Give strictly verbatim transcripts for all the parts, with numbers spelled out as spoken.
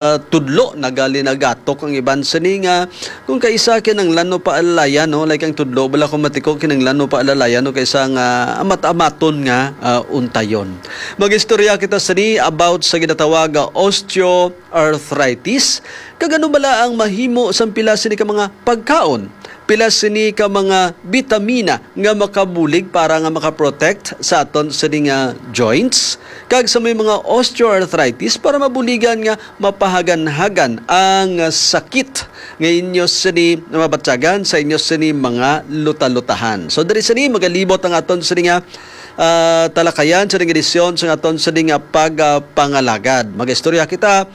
ah, tudlo, nagalinagatong ang iban sini nga kung kaisa kinahanglan mo paalalayan, no? Like ang tudlo bala, kung matiko, kinahanglan mo paalalayan, no? Kaisa nga amat-amaton nga, ah, untayon. Mag-istorya kita sini about sa ginatawag nga osteoarthritis. Kag ano bala ang mahimo sang pila sini ka mga pagkaon? Pila sini ka mga bitamina nga makabulig para nga makaprotect sa aton sini nga joints? Kag sa may mga osteoarthritis, para mabuligan nga mapahaganhagan ang sakit nga inyo sini mabatyagan sa inyo sini mga lutalutahan. So, diri sini magalibot ang aton sini nga, ah, talakayan sa edisyon sa aton sini nga pagpangalagad. Magistorya kita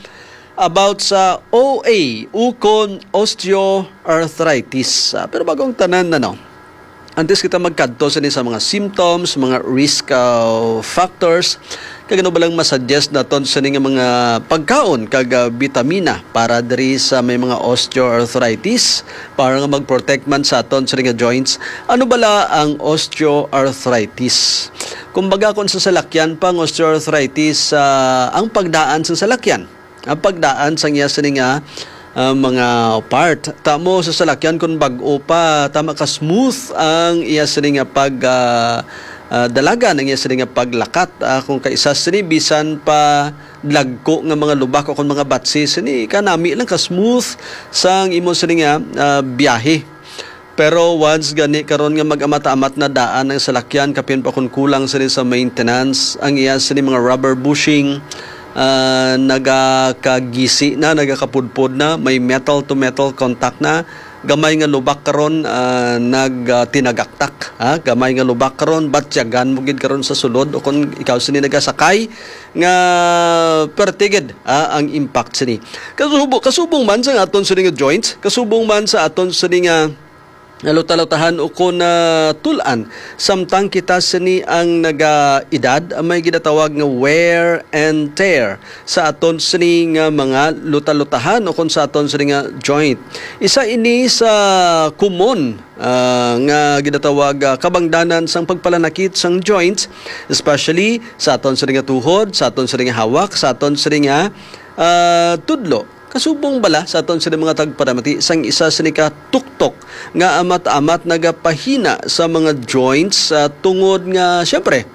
about sa O A, ukon osteoarthritis. Ah, pero bago ang tanan, ano, antes kita magkadto sini sa mga symptoms, mga risk, ah, factors, kag ano ba lang masuggest naton sini nga mga pagkaon kag, ah, bitamina para diri sa may mga osteoarthritis, para nga mag-protect man sa aton sini nga joints? Ano bala ang osteoarthritis? Kumbaga, kung sa salakyan pa ang osteoarthritis, ah, ang pagdaan sa salakyan, ang pagdaan sang iya sini nga, ah, mga part. Tamo sa salakyan, kung bag-o pa, tama ka smooth ang iya sini nga pag, ah, ah, dalagan, ang iya sini nga paglakat. Ah, kung kaisa sini, bisan pa dagko nga mga lubak o kung mga batsi sini, kanami lang ka smooth sang imo sini nga, ah, biyahe. Pero once gani karon nga mag-amat-amat na daan ang salakyan, kapin pa kun kulang sini sa maintenance, ang iya sini mga rubber bushing, ah, nagakagisi na, nagakapudpod na, may metal to metal contact na, gamay nga lubak karon, ah, nag, ah, tinagaktak, ha? Gamay nga lubak karon, batyagan mo gid karon sa sulod, o kung ikaw sini nagasakay, nga pertigid, ah, ang impact sini. Kasubo-, kasubong man sa aton sini nga joints, kasubong man sa aton sini nga nga lutalutahan o kon, ah, tul-an, samtang kita sini ang naga-edad, may ginatawag nga wear and tear sa aton sini nga mga lutalutahan o kon sa aton sini nga joint. Isa ini sa common, ah, nga ginatawag, ah, kabangdanan sang pagpalanakit sang joints, especially sa aton sini nga tuhod, sa aton sini nga hawak, sa aton sini nga, ah, tudlo. Kasubong bala sa aton sini mga tagparamati sang isa sini ka tuktok nga amat-amat nagapahina sa mga joints, ah, tungod nga, siyempre,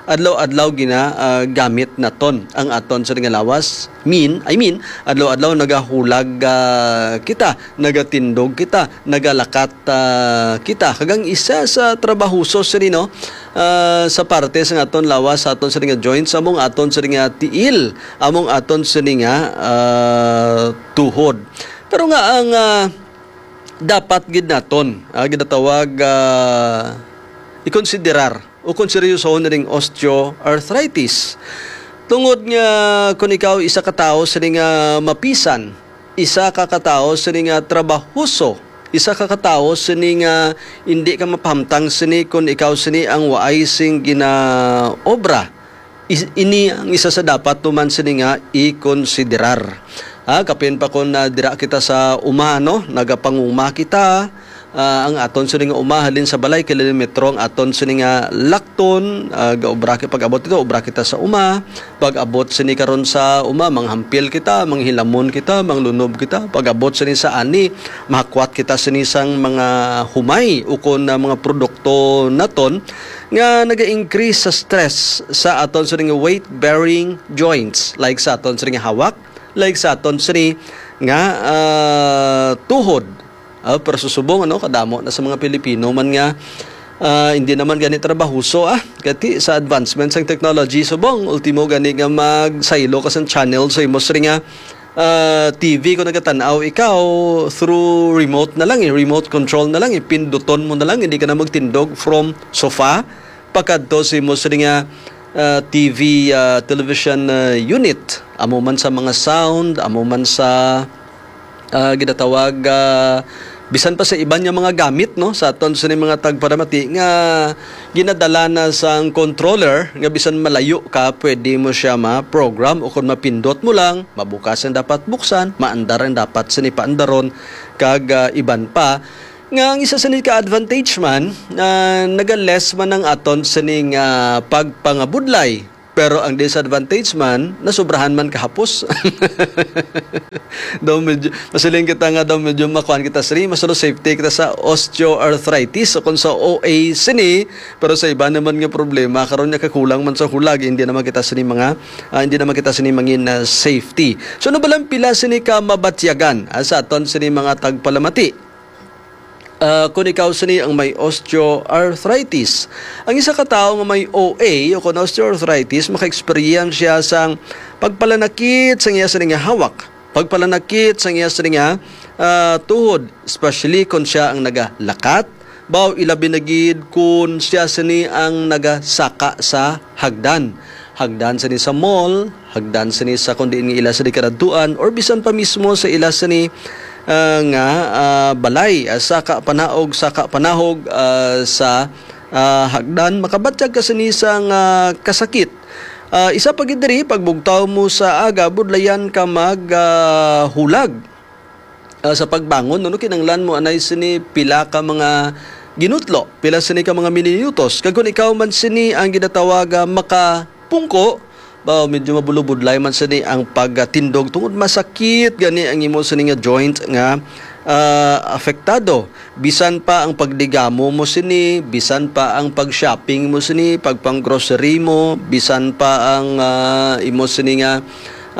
adlaw-adlaw gina, ah, gamit naton ang aton sini nga lawas. Mean, I mean, adlaw-adlaw nagahulag, ah, kita, nagatindog kita, nagalakat, ah, kita. Kag ang isa sa trabahoso sini, no, ah, sa parte sa aton lawas, sa aton sini nga joints, among aton sini nga tiil, among aton sini nga, ah, tuhod. Pero nga ang, ah, dapat gid naton, ah, ginatawag, ah, ikonsiderar o kon seryosohon na ning osteoarthritis. Tungod nga kung ikaw isa ka tawo sini nga mapisan, isa ka katawo sini nga trabahoso, isa ka katawo sini nga hindi ka mapahamtang sini kung ikaw sini ang waay sing ginaobra. Is-, ini ang isa sa dapat tuman sini nga ikonsiderar. Ah, kapin pa kung, ah, dira kita sa uma, no? Nagapanguma kita, ah, ang aton sini nga uma halin sa balay, kilometro ang aton sini nga lakton, ah, gaobra ki-, pag-abot ito, obra kita sa uma. Pag-abot sini karon sa uma, manghampil kita, manghilamon kita, manglunob kita. Pag-abot sini sa ani, mahakwat kita sini sang mga humay ukon na mga produkto naton nga naga-increase sa stress sa aton sini nga weight-bearing joints, like sa aton sini nga hawak, like sa aton sini nga, ah, tuhod. Ah, pero susubong, ano, kadamo na sa mga Pilipino man nga, ah, hindi naman gani trabahoso, ah. Kati sa advancement sang technology, subong, ultimo gani nga magsaylo ka sang channel sa imo sini nga, ah, T V kung nagatan-aw ikaw through remote na lang, eh, remote control na lang, eh, pinduton mo na lang, hindi ka na magtindog from sofa pakadto sa imo sini nga, ah, T V, ah, television, ah, unit. Amo man sa mga sound, amo man sa, ah, ginatawag, ah, bisan pa sa iban nga mga gamit, no, sa aton sini mga tagparamati nga ginadala na sang controller nga bisan malayo ka, pwede mo siya ma-program o kung mapindot mo lang, mabukas ang dapat buksan, maandar ang dapat sini paandaron, kag, ah, iban pa. Nga ang isa sini ka advantage man, ah, naga-less man ang aton sining, ah, pagpangabudlay Pero ang disadvantage man, nasobrahan man kahapos. Daw medyo, masiling kita nga daw medyo makuan kita sini, mas safety kita sa osteoarthritis o kung sa O A sini, pero sa iba naman nga problema, karon nga kakulang man sa hulag, hindi naman kita sini mga, ah, hindi naman kita sini mangin na safety. So, ano ba lang pila sini ka mabatyagan, ah, sa aton sini mga tagpalamati? Ah, kung ikaw sini ang may osteoarthritis, ang isa ka tawo nga may O A o kon osteoarthritis, maka-experience siya sang pagpalanakit sang iya sini nga hawak, pagpalanakit sang iya sini nga, ah, tuhod, especially kung siya ang nagalakat, baw ilabi na gid kung siya sini ang nagasaka sa hagdan. Hagdan sini sa mall, hagdan sini sa kung diin nga ila sini karadtuan, or bisan pa mismo sa ila sini, ah, nga, ah, balay, ah, saka panaog, saka panahog, ah, sa, ah, hagdan, makabatyag ka sini sang kasakit. Ah, isa pa gid diri, pagbugtaw mo sa aga, budlayan ka mag, ah, hulag. Ah, sa pagbangon, no, kinahanglan mo anay sini pila ka mga ginutlo, pila sini ka mga minutos. Kag kung ikaw man sini ang ginatawag, ah, makapungko, ba, medyo mabulubudlay man sini ang pagtindog tungod masakit gani ang imo sini nga joint nga, ah, apektado. Bisan pa ang pagdigamo mo sini, bisan pa ang pag-shopping mo sini, pagpang-grocery mo, bisan pa ang, ah, imo sini nga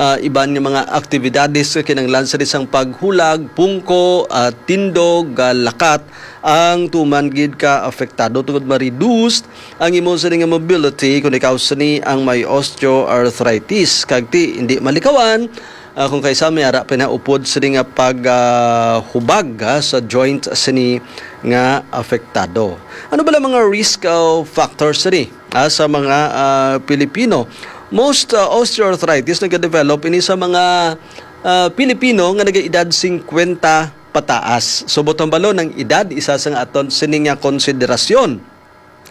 ah, iban nga mga aktibidades nga kinahanglan sa isang paghulag, pungko, ah, tindog, ah, lakat, ang tuman gid ka apektado tungod ma-reduce ang imo sini nga mobility kung ikaw sini ang may osteoarthritis. Kag ti, hindi malikawan, ah, kung kaysa may ara pinaupod sini nga pag, ah, hubag, ah, sa joint sini nga apektado. Ano ba lang mga risk, ah, factors sini? Ah, sa mga, ah, Pilipino. Most, ah, osteoarthritis nagadevelop ini sa mga, ah, Pilipino nga nagaedad singkwenta pataas. So, butang balon ang edad, isa sa nga aton sini nga konsiderasyon,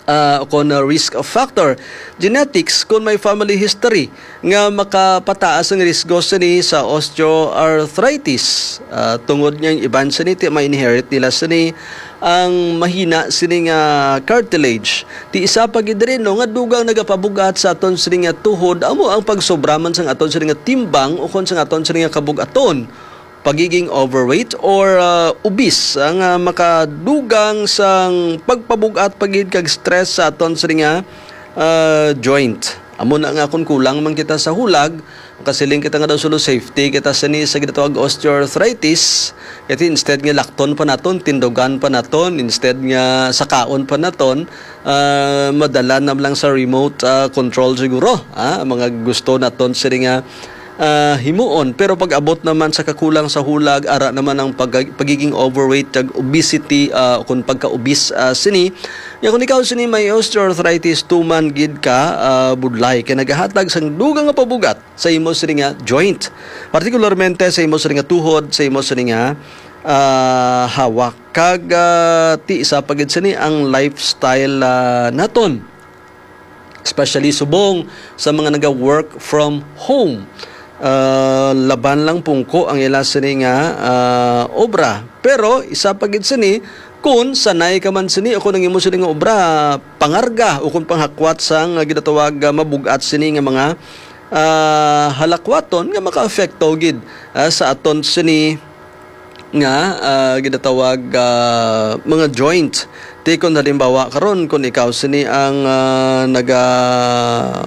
ah, kon, ah, risk factor. Genetics, kung may family history nga makapataas ang risgo sini sa osteoarthritis, ah, tungod nga ang iban sini ti ma-inherit nila sini ang mahina sini nga cartilage. Ti isa pa gid diri, no, nga dugang nagapabug-at sa aton sini nga tuhod, amo ang pagsobra man sang aton sini nga timbang o kon sang aton sini nga kabug-aton, pagiging overweight or, ah, obese, ang, ah, makadugang sang pagpabug-at pa gid kag stress sa aton sini nga, ah, joint. Amo na nga, kung kulang man kita sa hulag, makasiling kita nga daw sulo safety kita sini sa ginatawag osteoarthritis. Kay instead nga lakton pa naton, tindugan pa naton, instead nga sakaon pa naton, ah, madala na lang sa remote, ah, control siguro, ah, ang mga gusto naton sini nga, ah, himuon. Pero pag abot naman sa kakulang sa hulag, ara naman ang pag-, pagiging overweight, kag obesity, ah, kung pagka-obese, ah, sini. Nga kung ikaw sini may osteoarthritis, tuman gid ka, ah, budlay, kay nagahatag sang dugang nga pabug-at sa imo sini nga joint, partikularmente sa imo sini nga tuhod, sa imo sini nga, ah, hawak. Kag, ah, ti isa pa gid sini ang lifestyle, ah, naton, especially subong sa mga naga-work from home. Ah, laban lang pungko ang ila sini nga, ah, obra. Pero isa pa gid sini, kun sanay ka man sini o kun ang imo sini nga obra pangarga o kun panghakwat sang, ah, ginatawag, ah, mabug-at sini nga mga, ah, halakwaton nga makaapekto gid, ah, sa aton sini nga, ah, ginatawag, ah, mga joint. Ti kon halimbawa karon, kun ikaw sini ang, ah, naga-obra,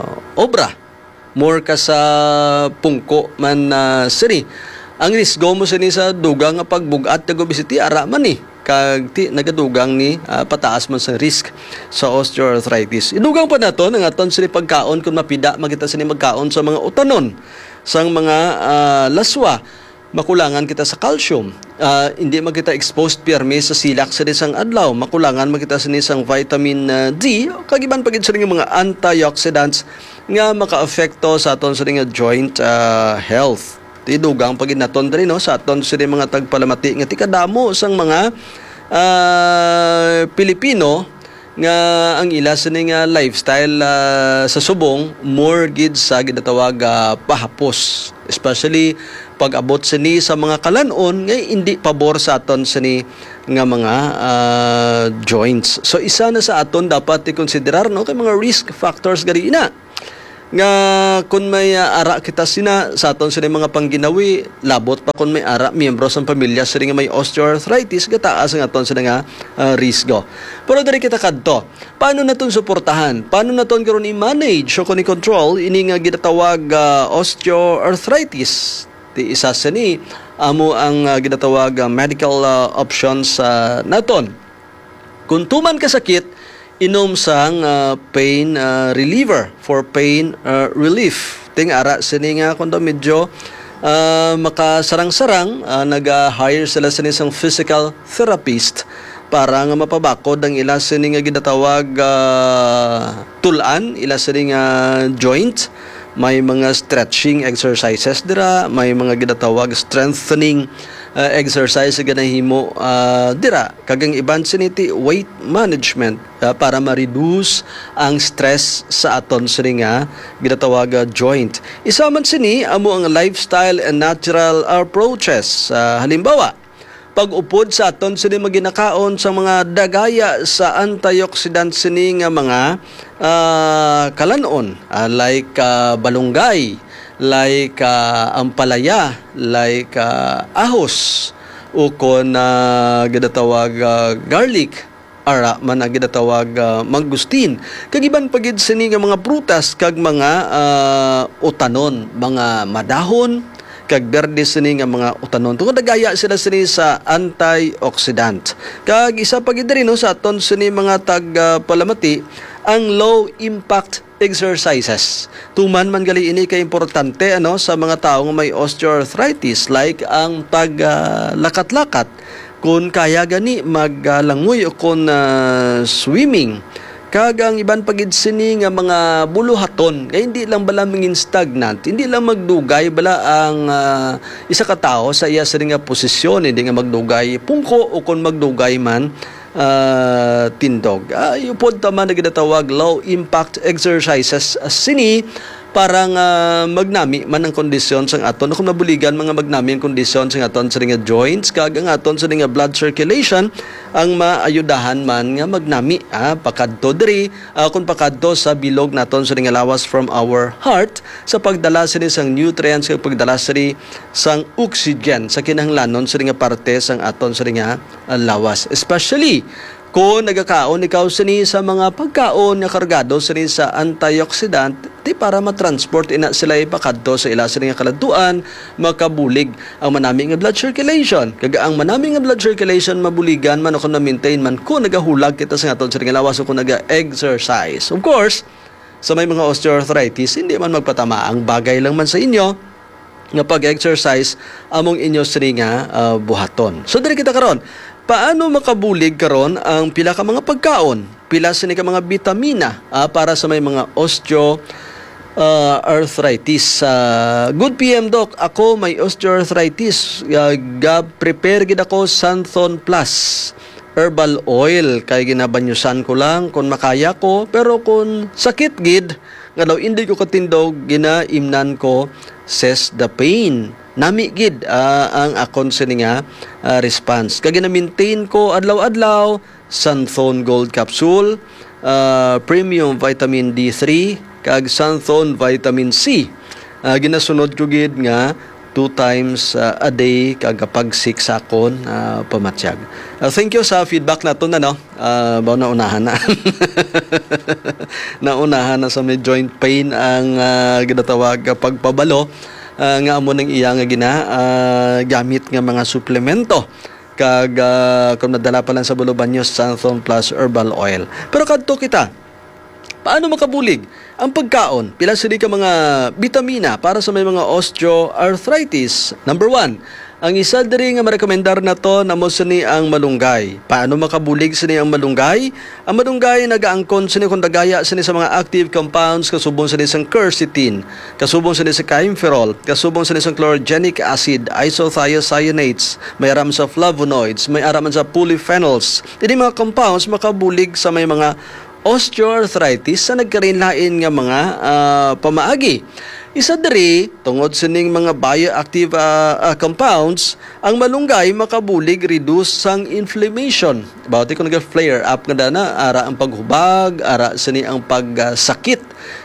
more ka sa pungko man, ah, sini, ang risgo mo sini sa dugang nga pagbug-at kag obesity ara man ni, kag ti nagadugang ni, ah, pataas man sa risk sa osteoarthritis. Idugang pa naton ang aton sini pagkaon, kun mapida man kita sini magkaon sa mga utanon sang mga, ah, laswa. Makulangan kita sa calcium. Ah, hindi man kita exposed pirmi sa silak sa disang adlaw. Makulangan man kita sini sang vitamin, ah, D, kag iban pa gid sini nga mga antioxidants nga makaapekto sa aton sini nga joint, ah, health. Ti dugang pa gid naton diri, no, sa aton sini mga tagpalamati nga ti kadamo sang mga, ah, Pilipino nga ang ila sini nga lifestyle, ah, sa subong more gid sa ginatawag, ah, pahapos, especially pag-abot sini sa mga kalan-on nga indi pabor sa aton sini nga mga, ah, joints. So, isa na sa aton dapat i-considerar, no, kay mga risk factors gani ina. nga kun may, ah, ara kita sina sa aton sini mga pangginawi, labot pa kun may ara miyembro sang pamilya sini nga may osteoarthritis, gataas ang aton sini nga, ah, risgo. Pero diri kita kadto. Paano naton suportahan? Paano naton karon i-manage o kon i-control ini nga ginatawag, ah, osteoarthritis? Ti isa sini amo ang, ah, ginatawag, ah, medical, ah, options, ah, naton. Kung tuman ka sakit, inom sang, ah, pain, ah, reliever for pain, ah, relief. Ting ara sini nga kung daw medyo, ah, makasarang-sarang, ah, naga-hire sila sini sang physical therapist para nga mapabakod ang ila sini nga ginatawag, ah, tul-an, ila sini nga joint. May mga stretching exercises dira, may mga ginatawag strengthening, ah, exercise nga nahimo, ah, dira. Kag ang iban sini ti weight management, ah, para ma-reduce ang stress sa aton sini nga ginatawag, ah, joint. Isa man sini amo ang lifestyle and natural approaches. Ah, halimbawa, pag-upod sa aton sini maginakaon sa mga dagaya sa antioxidant sini nga mga, ah, kalanon, ah, like, ah, balunggay, like, ah, ampalaya, like, ah, ahos, ukon, ah, ginatawag, ah, garlic, ara man ang ginatawag, ah, mangustin. Kag iban pa gid sini nga mga prutas kag mga, ah, utanon, mga madahon, kag berde sini nga mga utanon. Tungod nagaya sila sini sa antioxidant. Kag isa pa gid diri, no, sa aton sini mga tag, ah, palamati, ang low impact exercises. Tuman man gali ini ka importante, ano, sa mga tawo nga may osteoarthritis, like ang pag, ah, lakat-lakat, kun kaya gani maglangoy o kun, ah, swimming. Kag ang iban pa gid sini nga mga buluhaton, nga hindi lang bala mangin stagnant, hindi lang magdugay bala ang, ah, isa ka tawo sa iya sini nga posisyon, hindi nga magdugay pungko o kun magdugay man, ah, tindog. Ah, iyo pod ta man na ginatawag low impact exercises, ah, sini para nga magnami man ang kondisyon sang aton, kung mabuligan mga magnami ang kondisyon sang aton sini nga joints, kag ang aton sini nga blood circulation ang maayudahan man nga magnami, ah, pakadto diri, ah, kung pakadto sa bilog naton sini nga lawas from our heart, sa pagdala sini sang nutrients kag pagdala sini sang oxygen sa kinahanglanon sini nga parte sang aton sini nga, ah, lawas. Especially kung nagakaon ikaw sini sa mga pagkaon nga kargado sini sa antioxidant, di para matransport ina sila ipakadto sa ila sini nga kaladtuan, makabulig ang manami nga blood circulation. Kag ang manami nga blood circulation mabuligan man o kung ma-maintain man kung nagahulag kita sa aton sini nga lawas o kung naga-exercise. Of course, sa may mga osteoarthritis, hindi man magpatama. Ang bagay lang man sa inyo nga pag-exercise among inyo sini nga, ah, buhaton. So diri kita karon. Paano makabulig karon ang pila ka mga pagkaon, pila sini ka mga bitamina, ah, para sa may mga osteo, ah, arthritis? Ah, good P M, Doc. Ako may osteoarthritis. Ah, ga-prepare gid ako Santhon Plus herbal oil kay ginabanyusan ko lang kung makaya ko, pero kung sakit gid nga daw hindi ko katindog, ginaimnan ko Cess the Pain. Nami gid, ah, ang akon sini nga, ah, response. Kag gina-maintain ko adlaw-adlaw, Santhon Gold Capsule, ah, Premium Vitamin D three, kag Santhon Vitamin C. Ah, ginasunod ko gid nga two times, ah, a day kag kapag six sa akon, ah, pamatyag. Ah, thank you sa feedback naton, ano. Ah, baw naunahan na. Naunahan na sa may joint pain ang, ah, ginatawag nga pagpabalo, ah, nga amo nang iya nga gina, ah, gamit nga mga suplemento. Kag, ah, kung madala pa lang sa Bulubanyo, Santhon Plus Herbal Oil. Pero kadto kita, paano makabulig ang pagkaon? Pila sini ka mga bitamina para sa may mga osteoarthritis? Number one, ang isa diri nga marekomendar naton amo sini ang malunggay. Paano makabulig sini ang malunggay? Ang malunggay nagaangkon sini kung dagaya sini sa mga active compounds kasubong sini sang quercetin, kasubong sini sa chimeferol, kasubong sini sang chlorogenic acid, isothiocyanates, may ara man sa flavonoids, may ara man sa polyphenols. Ini mga compounds makabulig sa may mga osteoarthritis sa nagkalain-lain nga mga, ah, pamaagi. Isa diri, tungod sining mga bioactive, ah, ah, compounds, ang malunggay makabulig reduce sang inflammation. Bawo ti kung naga-flare up nga dana, ara ang paghubag, ara sini ang pagsakit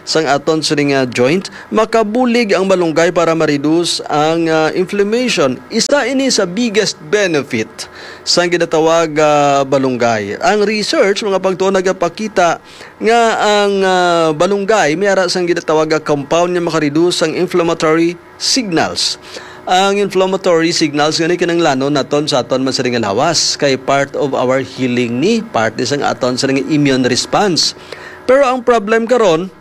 sang aton sini nga joint, makabulig ang malunggay para ma-reduce ang, ah, inflammation. Isa ini sa biggest benefit sang ginatawag nga malunggay. Ang research, mga pagtuon, nagapakita nga ang, ah, malunggay may ara sang ginatawag nga compound nga maka-reduce sang inflammatory signals. Ang inflammatory signals gani kinahanglanon naton sa aton man sini nga lawas, kay part of our healing ni, part ni sang aton sini nga immune response. Pero ang problem karon,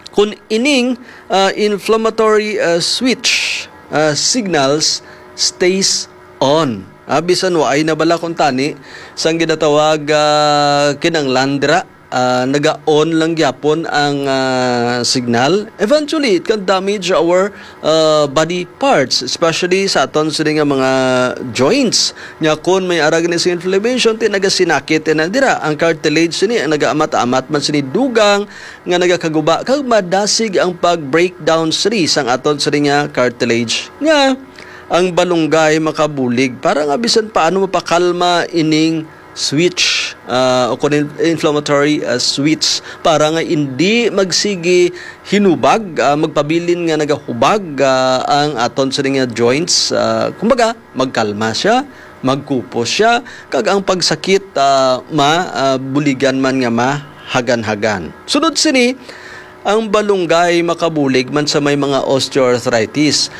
kung ining, ah, inflammatory, ah, switch, ah, signals stays on. Ah, bisan waay na bala kung tani sang ginatawag, ah, kinanglan dira, ah, naga-on lang gyapon ang, ah, signal. Eventually, it can damage our, ah, body parts, especially sa aton sini nga mga joints. Nya, kung may ara gani sa inflammation, ti nagasinakit na dira ang cartilage sini, ang nagaamat-amat man sini dugang nga nagakaguba, kag madasig ang pag-breakdown sini sang aton sini nga cartilage. Nga ang balunggay makabulig para nga bisan paano mapakalma ining switch, ah, o kun in-, inflammatory, ah, switch, para nga hindi magsigi hinubag, ah, magpabilin nga nagahubag, ah, ang aton sini nga joints. Ah, kumbaga, magkalma siya, magkupos siya, kag ang pagsakit, ah, ma, ah, buligan man nga mahagan-hagan. Sunod sini, ang balunggay makabulig man sa may mga osteoarthritis.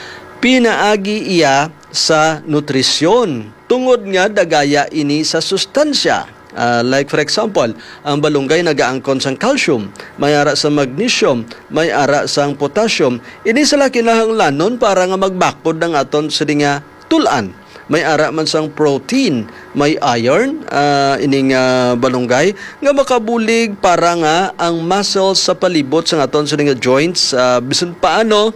Pinaagi iya sa nutrisyon, tungod nga dagaya ini sa sustansya. Ah, like, for example, ang balunggay nagaangkon sang calcium, may ara sa magnesium, may ara sang potassium. Ini sila kinahanglanon para nga magbakod ang aton sini nga tul-an. May ara man sang protein, may iron, ah, ining, ah, balunggay nga makabulig para nga ang muscles sa palibot sang aton sini nga joints, ah, bisan paano,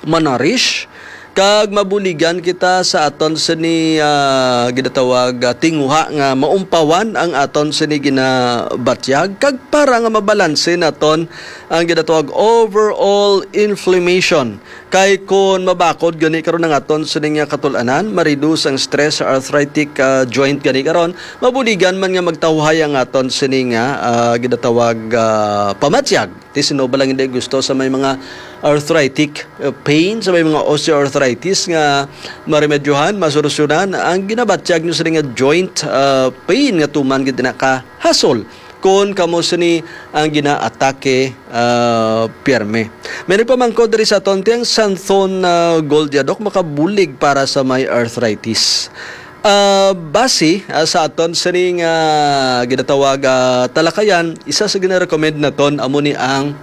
manarish, kag mabuligan kita sa aton sini, ah, ginatawag, ah, tinguha nga maumpawan ang aton sini ginabatyag, kag para nga mabalanse naton ang ginatawag overall inflammation. Kay kon mabakod gani karon ang aton sini nga katul-anan, ma-reduce ang stress sa arthritic, ah, joint gani karon, mabuligan man nga magtawhay ang aton sini nga, ah, ginatawag, ah, pamatyag. Ti sino ba lang hindi gusto sa may mga arthritic, uh, pain, sa may mga osteoarthritis nga maremedyohan, masolusyonan ang ginabatyag nyo sa nga joint, uh, pain nga tuman gid na ka hasol kon kamo sini ang ginaatake, uh, pirme. May nagpamangkot diri sa aton, ti ang Santhon, uh, Gold, Doc, makabulig para sa may arthritis? Ah, base, ah, sa aton sining, ah, ginatawag, ah, talakayan, isa sa gina-recommend naton amo ni ang,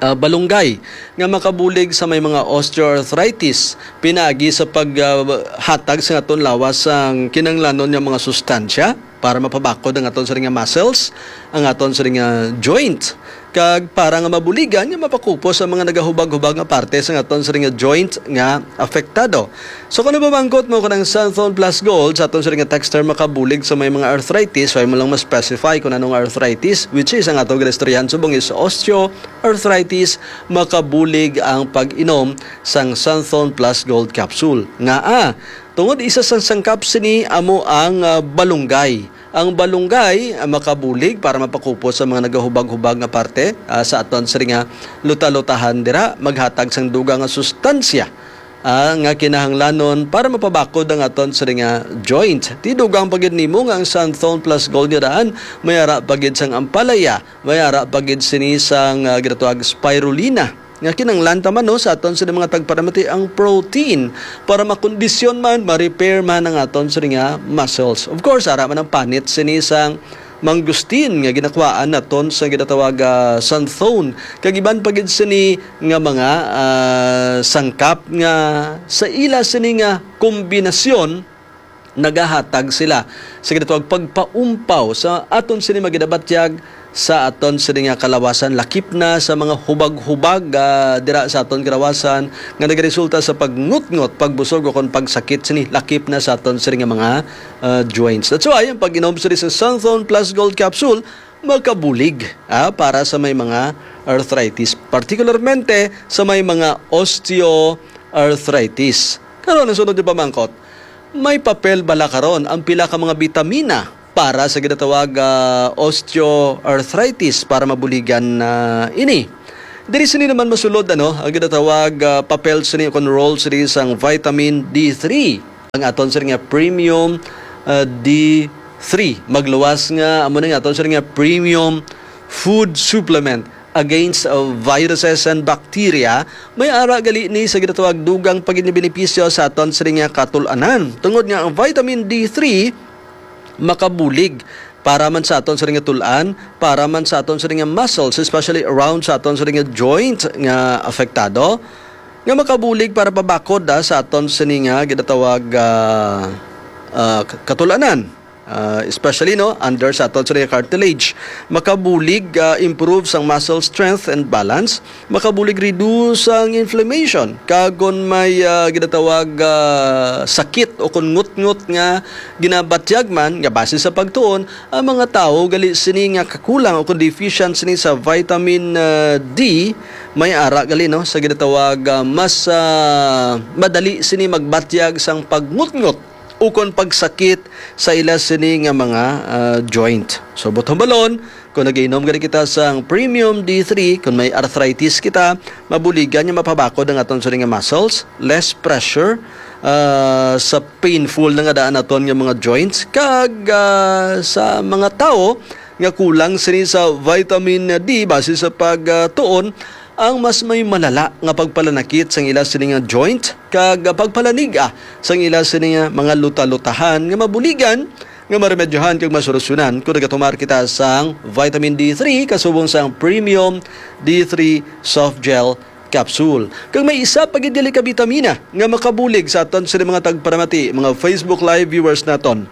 ah, balunggay nga makabulig sa may mga osteoarthritis, pinaagi sa pag, ah, hatag sa aton lawas sang kinahanglanon nga mga sustansya para mapabakod ang aton sining nga muscles, ang aton sining nga joint. Kag para nga mabuligan nga mapakupos ang mga nagahubag-hubag nga parte sa aton sining nga joint nga apektado. So, kung nabamangkot mo kanang Santhon Plus Gold sa aton sining nga texter makabulig sa may mga arthritis, wala mo lang ma-specify kung anong arthritis, which is ang aton ginaistoryahan subong is osteoarthritis, makabulig ang pag-inom sang Santhon Plus Gold capsule. Ngaa, tungod isa sang sangkap sini amo ang, ah, balunggay. Ang balunggay, ah, makabulig para mapakupos sa mga nagahubag-hubag nga parte, ah, sa aton sini nga luta-lutahan dira, maghatag sang dugang nga sustansya, ah, nga kinahanglanon para mapabakod ang aton sini nga joint. Ti dugang pa gid nimo nga ang Santhon Plus Gold nga daan, may ara pa gid sang ampalaya, may ara pa gid sini sang, ah, ginatawag spirulina. Nga kinahanglan ta man, no, sa aton sini mga tagparamati ang protein para makondisyon man, ma-repair man ang aton sini nga muscles. Of course, ara man ang panit sini sang mangosteen nga ginakuhaan naton sa ginatawag, ah, santhone. Kag iban pa gid sini nga mga, ah, sangkap nga sa ila sini nga kombinasyon nagahatag sila sa ginatawag pagpaumpaw sa aton sini maginabatyag sa aton sini nga kalawasan, lakip na sa mga hubag-hubag, ah, dira sa aton kalawasan nga nagaresulta sa pagngutngot, pagbusog, o kon pagsakit sini, lakip na sa aton sini nga mga, ah, joints. That's why ang pag-inom sini sa Santhon Plus Gold Capsule makabulig, ah, para sa may mga arthritis, particularmente sa may mga osteoarthritis. Karon, ang sunod nga pamangkot, may papel bala karon ang pila ka mga bitamina para sa ginatawag, ah, osteoarthritis para mabuligan na ini? Diri sini naman masulod, ano, ang ginatawag, ah, papel sini o kon role sini sang vitamin D three. Ang aton sini nga premium, ah, D three. Magluwas nga, amo na nga aton sini nga premium food supplement against, uh, viruses and bacteria. May ara gali ni sa ginatawag dugang pa gid nga benepisyo sa aton sini nga katul-anan. Tungod nga ang vitamin D three makabulig para man sa aton sini nga tul-an, para man sa aton sini nga muscles, especially around sa aton sini nga joint nga apektado, nga makabulig para pabakod, ah, sa aton sini nga ginatawag, ah, ah, k-, katul-anan. Ah, especially, no, under sa aton sini nga cartilage. Makabulig, ah, improve sang muscle strength and balance. Makabulig reduce ang inflammation. Kag kon may, ah, ginatawag, ah, sakit o kon ngutngot nga ginabatyag man nga base sa pagtuon, ang mga tawo gali sini nga kakulang o kon deficient sini sa vitamin, ah, D, may ara gali, no, sa ginatawag, ah, mas, ah, madali sini magbatyag sang pagngutngot ukon pagsakit sa ila sini nga mga, ah, joint. So, buot hambalon, kung nagainom gani kita sang premium D three, kung may arthritis kita, mabuligan nga mapabakod ang aton sini nga muscles, less pressure, ah, sa painful na nga daan naton nga mga joints, kag, ah, sa mga tawo nga kulang sini sa vitamin D base sa pagtuon, ang mas may malala nga pagpalanakit sang ila sini nga joint kag pagpalanig-a sang ila sini nga mga luta-lutahan nga mabuligan nga maremedyohan kag masolusyonan kung nagatumar kita sang vitamin D three kasubong sang premium D three soft gel capsule. Kag may isa pa gid dili ka bitamina nga makabulig sa aton sini mga tagparamati, mga Facebook Live viewers naton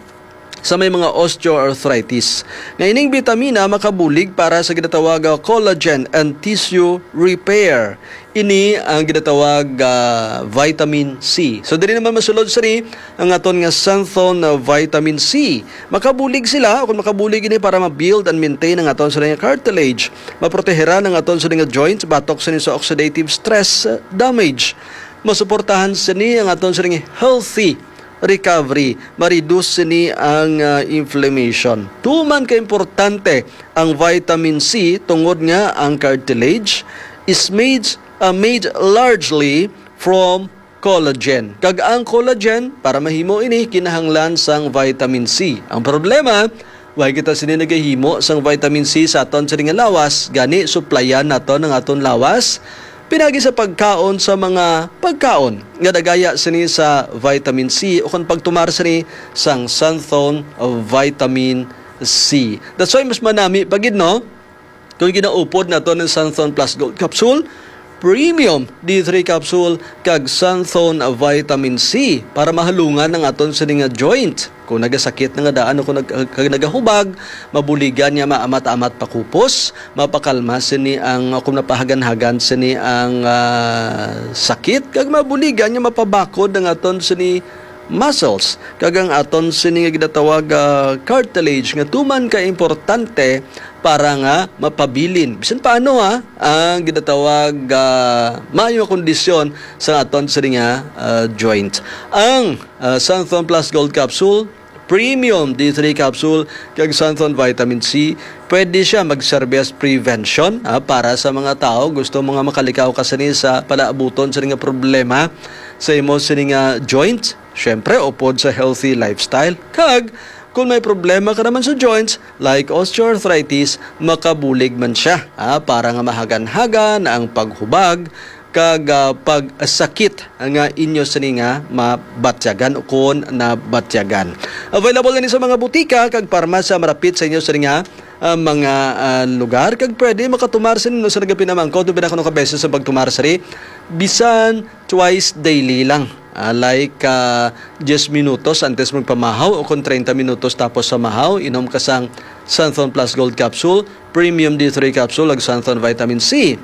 sa may mga osteoarthritis. Nga ining bitamina makabulig para sa ginatawag nga collagen and tissue repair. Ini ang ginatawag, ah, vitamin C. So, diri naman masulod sini ang aton nga xanthone, ah, vitamin C. Makabulig sila, o kung makabulig ini para ma-build and maintain ang aton sini nga cartilage. Maproteheran ang aton sini nga joints batok sini sa oxidative stress, ah, damage. Masuportahan sini ang aton sini nga healthy recovery, ma-reduce sini ang, ah, inflammation. Tuman ka importante ang vitamin C tungod nga ang cartilage is made, ah, made largely from collagen. Kag ang collagen, para mahimo ini, kinahanglan sang vitamin C. Ang problema, way kita sini nagahimo sang vitamin C sa aton sini nga lawas, gani suplayan naton ang aton lawas pinagi sa pagkaon sa mga pagkaon nga nagaya sini sa vitamin C o kung pagtumar sini sang xanthone vitamin C. That's why mas manami pa gid, no? Kung ginaupod naton ang Xanthone Plus Gold Capsule, Premium D three Capsule, kag Xanthone Vitamin C para mahalungan ang aton sini nga joint. Kung nagasakit na nga daan o kung nag-, kag nagahubag, mabuligan niya maamat-amat pakupos, mapakalma sini ang, kung napahagan-hagan sini ang, ah, sakit, kag mabuligan niya mapabakod ang aton sini muscles, kag ang aton sini nga ginatawag, ah, cartilage nga tuman ka importante para nga mapabilin. Bisan paano, ha, ang ginatawag, ah, maayo nga kondisyon sa aton sini nga, ah, joint. Ang, ah, Xanthone Plus Gold Capsule, Premium D three Capsule, kag Xanthone Vitamin C, pwede siya magserbi as prevention, ha, para sa mga tao gusto mo nga makalikaw ka sini sa palaabuton sini nga problema sa imo sini nga joint. Siyempre, upod sa healthy lifestyle. Kag, kung may problema ka naman sa joints, like osteoarthritis, makabulig man siya, ha, para nga mahagan-hagan ang paghubag kag, ah, pagsakit nga inyo sini nga mabatyagan o kon nabatyagan. Available na ni sa mga butika kag parmasya marapit sa inyo sini nga, ah, mga, ah, lugar, kag pwede makatumar sini, no, sa nagapinamangkot, o pinakano ka beses sa pagtumar sini, bisan twice daily lang. Ah, like, ah, diyes minutos antes magpamahaw o kon treinta minutos tapos sa mahaw, inom ka sang Xanthone Plus Gold Capsule, Premium D three Capsule, ag Xanthone Vitamin C.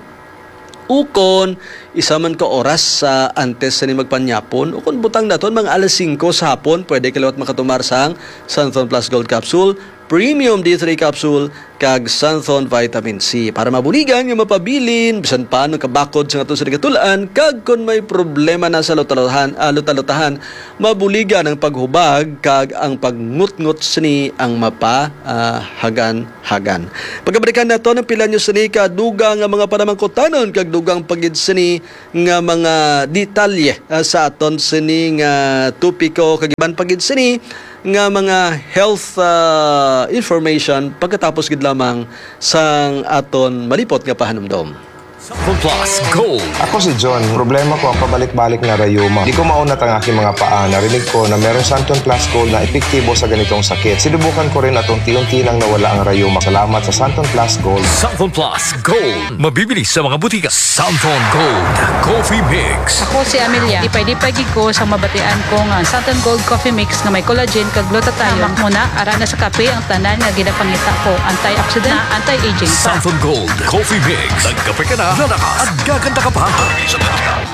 Ukon, isa man ka oras sa antes sini magpanyapon, ukon butang naton mga alas singko sa hapon, pwede ka liwat makatumar sang Xanthone Plus Gold Capsule, Premium D three capsule, kag Santhon Vitamin C para mabuligan nga mapabilin bisan pa ano kabakod sa aton sini nga tul-an, kag kon may problema na sa lutaluhan, ah, lutalutahan, mabuligan ang paghubag kag ang pagngutngot sini ang mapa, ah, hagan-hagan. Pagkabalikan nato ang pila nyo sini ka dugang nga mga panamangkutanon kag dugang pa gid sini nga mga detalye, ah, sa aton sini nga topiko kag iban pa gid sini nga mga health, ah, information pagkatapos gid lamang sang aton malipot nga pahanumdom. Santhon Plus Gold. Ako si John. Problema ko ang pabalik-balik na rayuma. Di ko maunat ang aking mga paa. Narinig ko na meron Santhon Plus Gold na epektibo sa ganitong sakit. Sinubukan ko rin at unti-unti nang nawala ang rayuma. Salamat sa Santhon Plus Gold. Santhon Plus Gold. Mabibili sa mga butika. Santhon Gold Coffee Mix. Ako si Amelia. Ipay-ipay gid ko sa mabatian ko nga Santhon Gold Coffee Mix nga may collagen kag glutathione. Hamak mo na, ara na sa kape ang tanan nga ginapangita ko. Antioxidant, anti-aging. Santhon Gold Coffee Mix. Nagkape ka na, lalakas, at gaganda ka pa.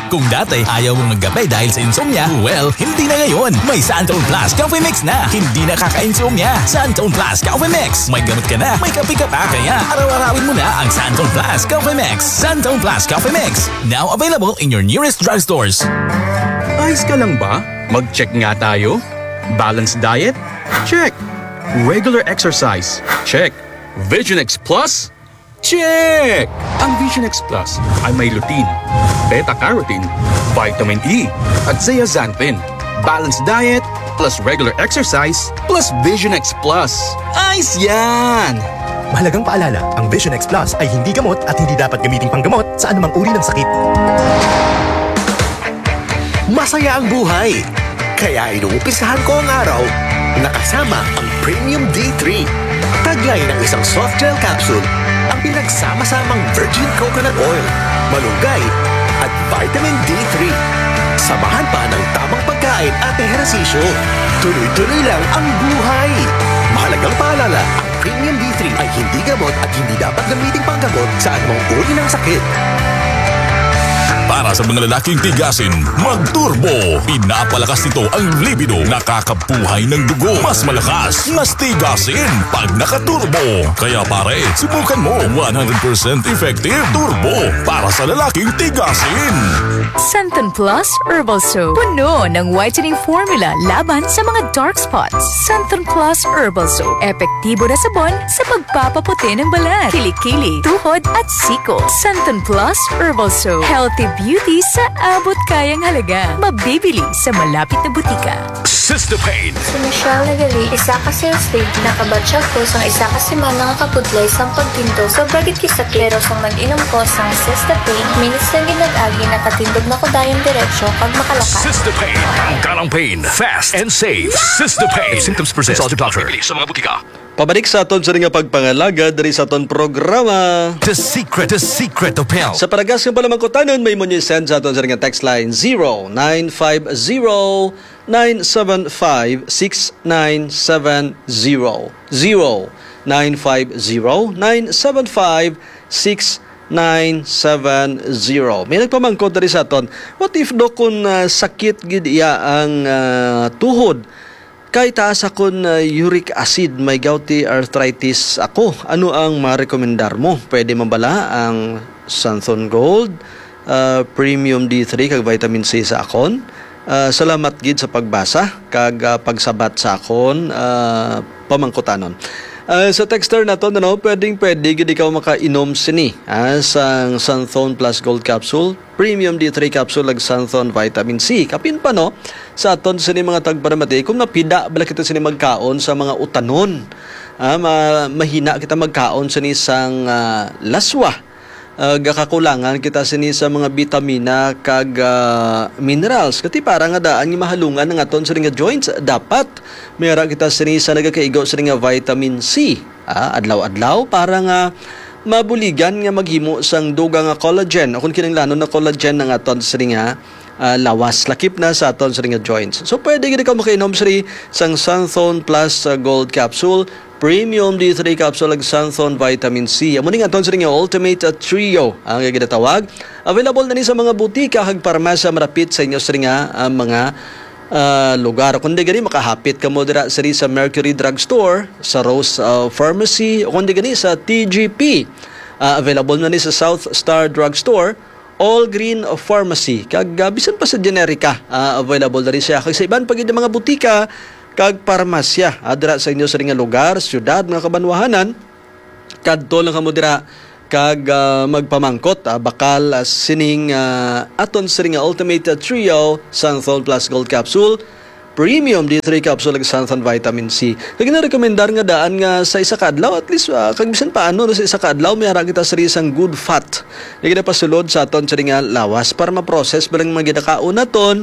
Kung dati ayaw mong magkape dahil sa insomnia, well, hindi na ngayon. May Santhon Plus Coffee Mix na. Hindi nakaka-insomnia. Santhon Plus Coffee Mix. May gamot ka na, may kape ka pa. Kaya araw-arawin mo na ang Santhon Plus Coffee Mix. Santhon Plus Coffee Mix. Now available in your nearest drugstores. Ayos ka lang ba? Mag-check nga tayo. Balanced diet? Check. Regular exercise? Check. Vision X Plus? Check! Ang Vision X Plus ay may lutein, beta-carotene, vitamin E, at zeaxanthin. Balanced diet plus regular exercise plus Vision X Plus. Ayos yan! Mahalagang paalala, ang Vision X Plus ay hindi gamot at hindi dapat gamiting panggamot sa anumang uri ng sakit. Masaya ang buhay. Kaya inumpisahan ko ang araw na kasama ang Premium D three. Taglay ng isang soft gel capsule ang pinagsama-samang virgin coconut oil, malunggay, at vitamin D three. Samahan pa ng tamang pagkain at ehersisyo. Tuloy-tuloy lang ang buhay. Mahalagang paalala, ang Premium D three ay hindi gamot at hindi dapat gamiting panggamot sa anumang uri ng sakit. Para sa mga lalaking tigasin, mag-turbo. Pinapalakas nito ang libido, nakakabuhay ng dugo. Mas malakas, mas tigasin pag naka-turbo. Kaya pare, subukan mo. One hundred percent effective turbo para sa lalaking tigasin. Santon Plus Herbal Soap. Puno ng whitening formula laban sa mga dark spots. Santon Plus Herbal Soap. Epektibo na sabon sa pagpapaputi ng balat, kilikili, tuhod at siko. Santon Plus Herbal Soap. Healthy beauty sa abot kayang halaga. Mabibili sa malapit na butika. Sister Pain. Si Michelle Nagali, isa ka sales lady. Nakabatch ako sang isa ka semana nga kabudlay sang pagtindog. Sobra gid kisakit, pero sang nag-inom ko sang Sister Pain, minutes lang gid nag-agi, nakatindog na ko dayon diretso kag makalakat. Sister Pain. Tanggal ang pain. Fast and safe. Sister Pain. If symptoms persist, consult your doctor. Mabibili sa mga butika. Pabalik sa aton sa nga pagpangalagad diri sa aton programa. The Secret, The Secret of Health. Sa paragas nga panamangkutanon, may mo niyo send sa aton sa nga text line, zero nine five zero, nine seven five, six nine seven zero. Zero nine five zero, nine seven five, six nine seven zero. May nagpamangkot diri sa aton, what if do kun, ah, sakit gid iya ang, ah, tuhod? Kay taas akon, ah, uric acid, may gouty arthritis ako. Ano ang marekomendar mo? Pwede man bala ang Santhon Gold, ah, Premium D three kag Vitamin C sa akon? Ah, salamat gid sa pagbasa kag, ah, pagsabat sa akon, ah, pamangkutanon. Ah, sa texter naton, ano, pwedeng pwede gid ikaw makainom sini, ah, sang Santhon Plus Gold Capsule, Premium D three Capsule, ag Santhon Vitamin C. Kapin pa, no, sa aton sini mga tagparamati, kung napida bala kita sini magkaon sa mga utanon, ah, ma-, mahina kita magkaon sini sang, ah, laswa, ah, gakakulangan kita sini sa mga bitamina kag, ah, minerals. Kati para nga daan nga mahalungan ang aton sini nga joints, dapat may ara kita sini sa nagakaigo sini nga vitamin C, ah, adlaw-adlaw para nga mabuligan nga maghimo sang dugang nga collagen, o kung kinahanglanon na collagen ang aton sini nga, ah, lawas, lakip na sa aton sini nga joints. So, pwede gid ikaw makainom sini sang Santhon Plus, ah, Gold Capsule, Premium D three Capsule, ag Santhon Vitamin C. Amo ni nga aton sini nga Ultimate, ah, Trio ang ginatawag. Available na ni sa mga butika kag parmasya marapit sa inyo sini nga, ah, mga ah, lugar. Kundi gani, makahapit kamo dira siri sa Mercury Drugstore, sa Rose, ah, Pharmacy, o kundi gani sa T G P. Ah, available na ni sa South Star Drugstore, All Green Pharmacy, kag, ah, bisan pa sa Generica, ah, available na rin siya. Kag sa iban pa gid nga mga butika kag parmasya, ah, dira sa inyo sa nga lugar, syudad, mga kabanwahanan, kadto lang kamo dira kag, ah, magpamangkot, ah, bakal, ah, sining, ah, aton sini nga Ultimate, ah, Trio, Santhon Plus Gold Capsule, Premium D three Capsule, ug Santhon Vitamin C. Kag ginarekomendar nga daan nga sa isa ka adlaw, at least, ah, kag bisan pa ano, no, sa isa ka adlaw, may ara kita sa isang good fat nga ginapasulod sa aton sini nga lawas para ma-process ba lang mga ginakaon naton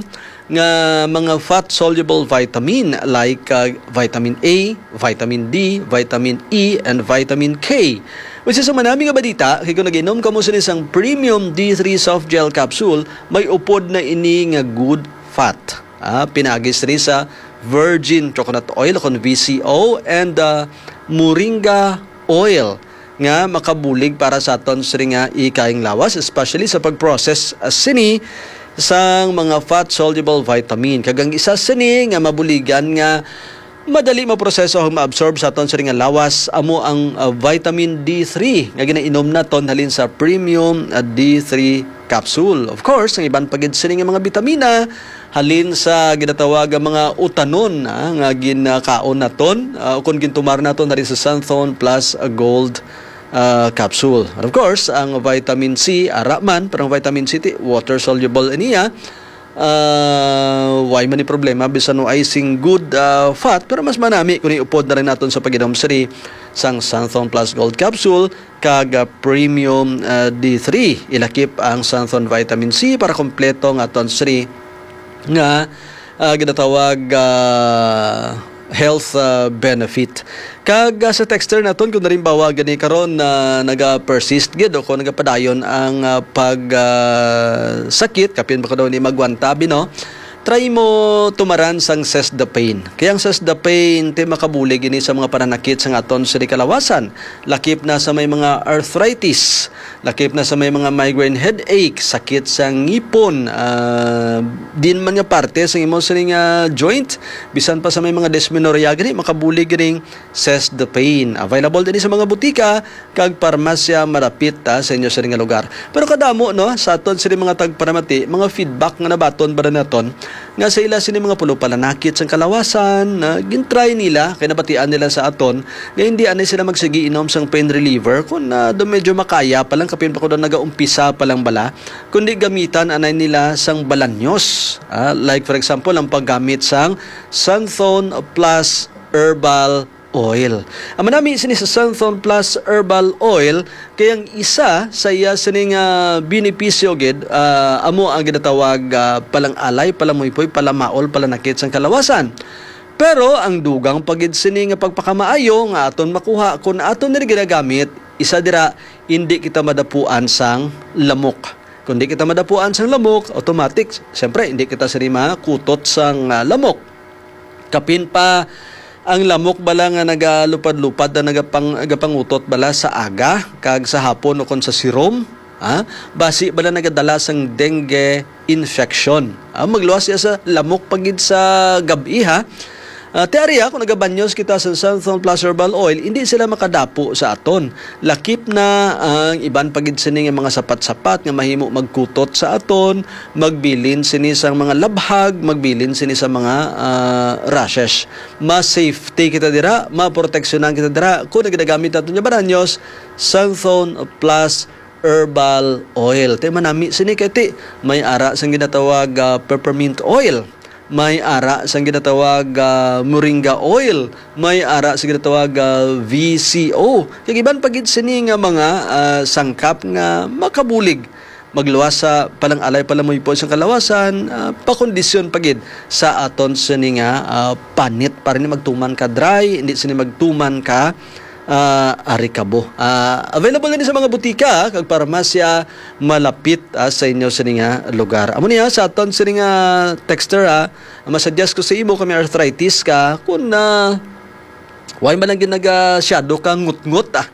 nga mga fat-soluble vitamin like, ah, vitamin A, vitamin D, vitamin E, and vitamin K. Which is, sa manami nga balita, kay kung nag-inom kamo sini sang premium D three soft gel capsule, may upod na ini nga good fat. Ah, pinaagi sini sa virgin coconut oil, kon V C O, and, ah, moringa oil nga makabulig para sa aton sini nga ikayang lawas, especially sa pag-process, ah, sini sang mga fat-soluble vitamin. Kag ang isa sini nga mabuligan nga madali maproseso ug maabsorb sa aton sini nga lawas amo ang, ah, vitamin D three nga ginainom naton halin sa premium, ah, D three capsule. Of course, ang iban pa gid sini nga mga bitamina halin sa ginatawag nga mga utanon, ah, nga ginakaon naton, ah, o kon gintumar naton halin sa Santhon Plus Gold, ah, capsule. And of course, ang vitamin C, ara man, pero ang vitamin C, ti, water soluble niya. Ah, why man ni problema, bisan no ay sing good, ah, fat, pero mas manami kung iupod na rin naton sa pag-inom sini sang Santhon Plus Gold Capsule kag, ah, Premium, ah, D three. Ilakip ang Santhon Vitamin C para kompleto nga aton sini nga, ah, ginatawag, ah, health, ah, benefit. Kag, ah, sa texter naton, kung nalimbawa gani karon na naga-persist gid o kung nagapadayon ang, ah, pag, ah, sakit, kapin ba ko daw ni magwanta, abi, no? Try mo tumaran sang Sesdapane. Kaya ang Sesdapane, ti, makabulig ini sa mga pananakit sa aton sini kalawasan. Lakip na sa may mga arthritis, lakip na sa may mga migraine headache, sakit sa ngipon, ah, din man nga parte sa imo sini nga joint, bisan pa sa may mga dysmenorrhea gani, makabulig ganing Sesdapane. Available din sa mga butika kag parmasya malapit, ah, sa inyo sini nga lugar. Pero kadamo, no, sa aton sini mga tagparamati, mga feedback nga nabaton ba naton nga sa ila sini mga pulo pananakit sang kalawasan, na gintry nila, kay nabatian nila sa aton nga hindi anay sila magsigi inom sang pain reliever kung, ah, do medyo makaya pa lang, kapin pa ko daw nagaumpisa pa lang bala, kundi gamitan anay nila sang balanyos. Ah, like, for example, ang paggamit sang Santhon Plus Herbal Oil. Ang manami sini sa Santhon Plus Herbal Oil kay ang isa sa iya sini nga benepisyo gid, ah, amo ang ginatawag, ah, palang-alay, palamuypoy, palamaol, palanakit sang kalawasan. Pero ang dugang pa gid sini nga pagpakamaayo nga aton makuha kon aton ni ginagamit, isa dira, hindi kita madapuan sang lamok. Kung di kita madapuan sang lamok, automatic, siyempre, hindi kita sini makutot sang, ah, lamok. Kapin pa, ang lamok bala nga nagalupad-lupad na nagapang-, nagapangutot bala sa aga, kag sa hapon o kon sa sirom, ha? Basi bala nagadala sang dengue infection. Ah, magluwas siya sa lamok pa gid sa gab-i, ha? Ah, ti ari, ha, kung nagabanyos kita sa Santhon Plus Herbal Oil, hindi sila makadapo sa aton. Lakip na ang iban pa gid sini nga mga sapat-sapat nga mahimo magkutot sa aton, magbilin sini sang mga labhag, magbilin sini sa mga, ah, rashes. Mas safety kita dira, maproteksyonan kita dira kung nagagamit naton nga balanyos, Santhon Plus Herbal Oil. Ti manami sini kay ti may ara sang ginatawag, ah, peppermint oil, may ara sang ginatawag, ah, moringa oil, may ara sang ginatawag, ah, V C O. Kag iban pa gid sini nga mga, ah, sangkap nga makabulig magluwas sa palang-alay, palamuypoy sang kalawasan, ah, pakondisyon pa gid sa aton sini nga, ah, panit, para hindi magtuman ka dry, hindi sini magtuman ka, ah, arikabo. Ah, available na ni sa mga butika kag parmasya malapit, ah, sa inyo sini nga lugar. Amo niya sa aton sini nga texter, ah, ang masuggest ko sa imo kung may arthritis ka, kung na why man lang ginagasyado ka ngut-ngut, ah.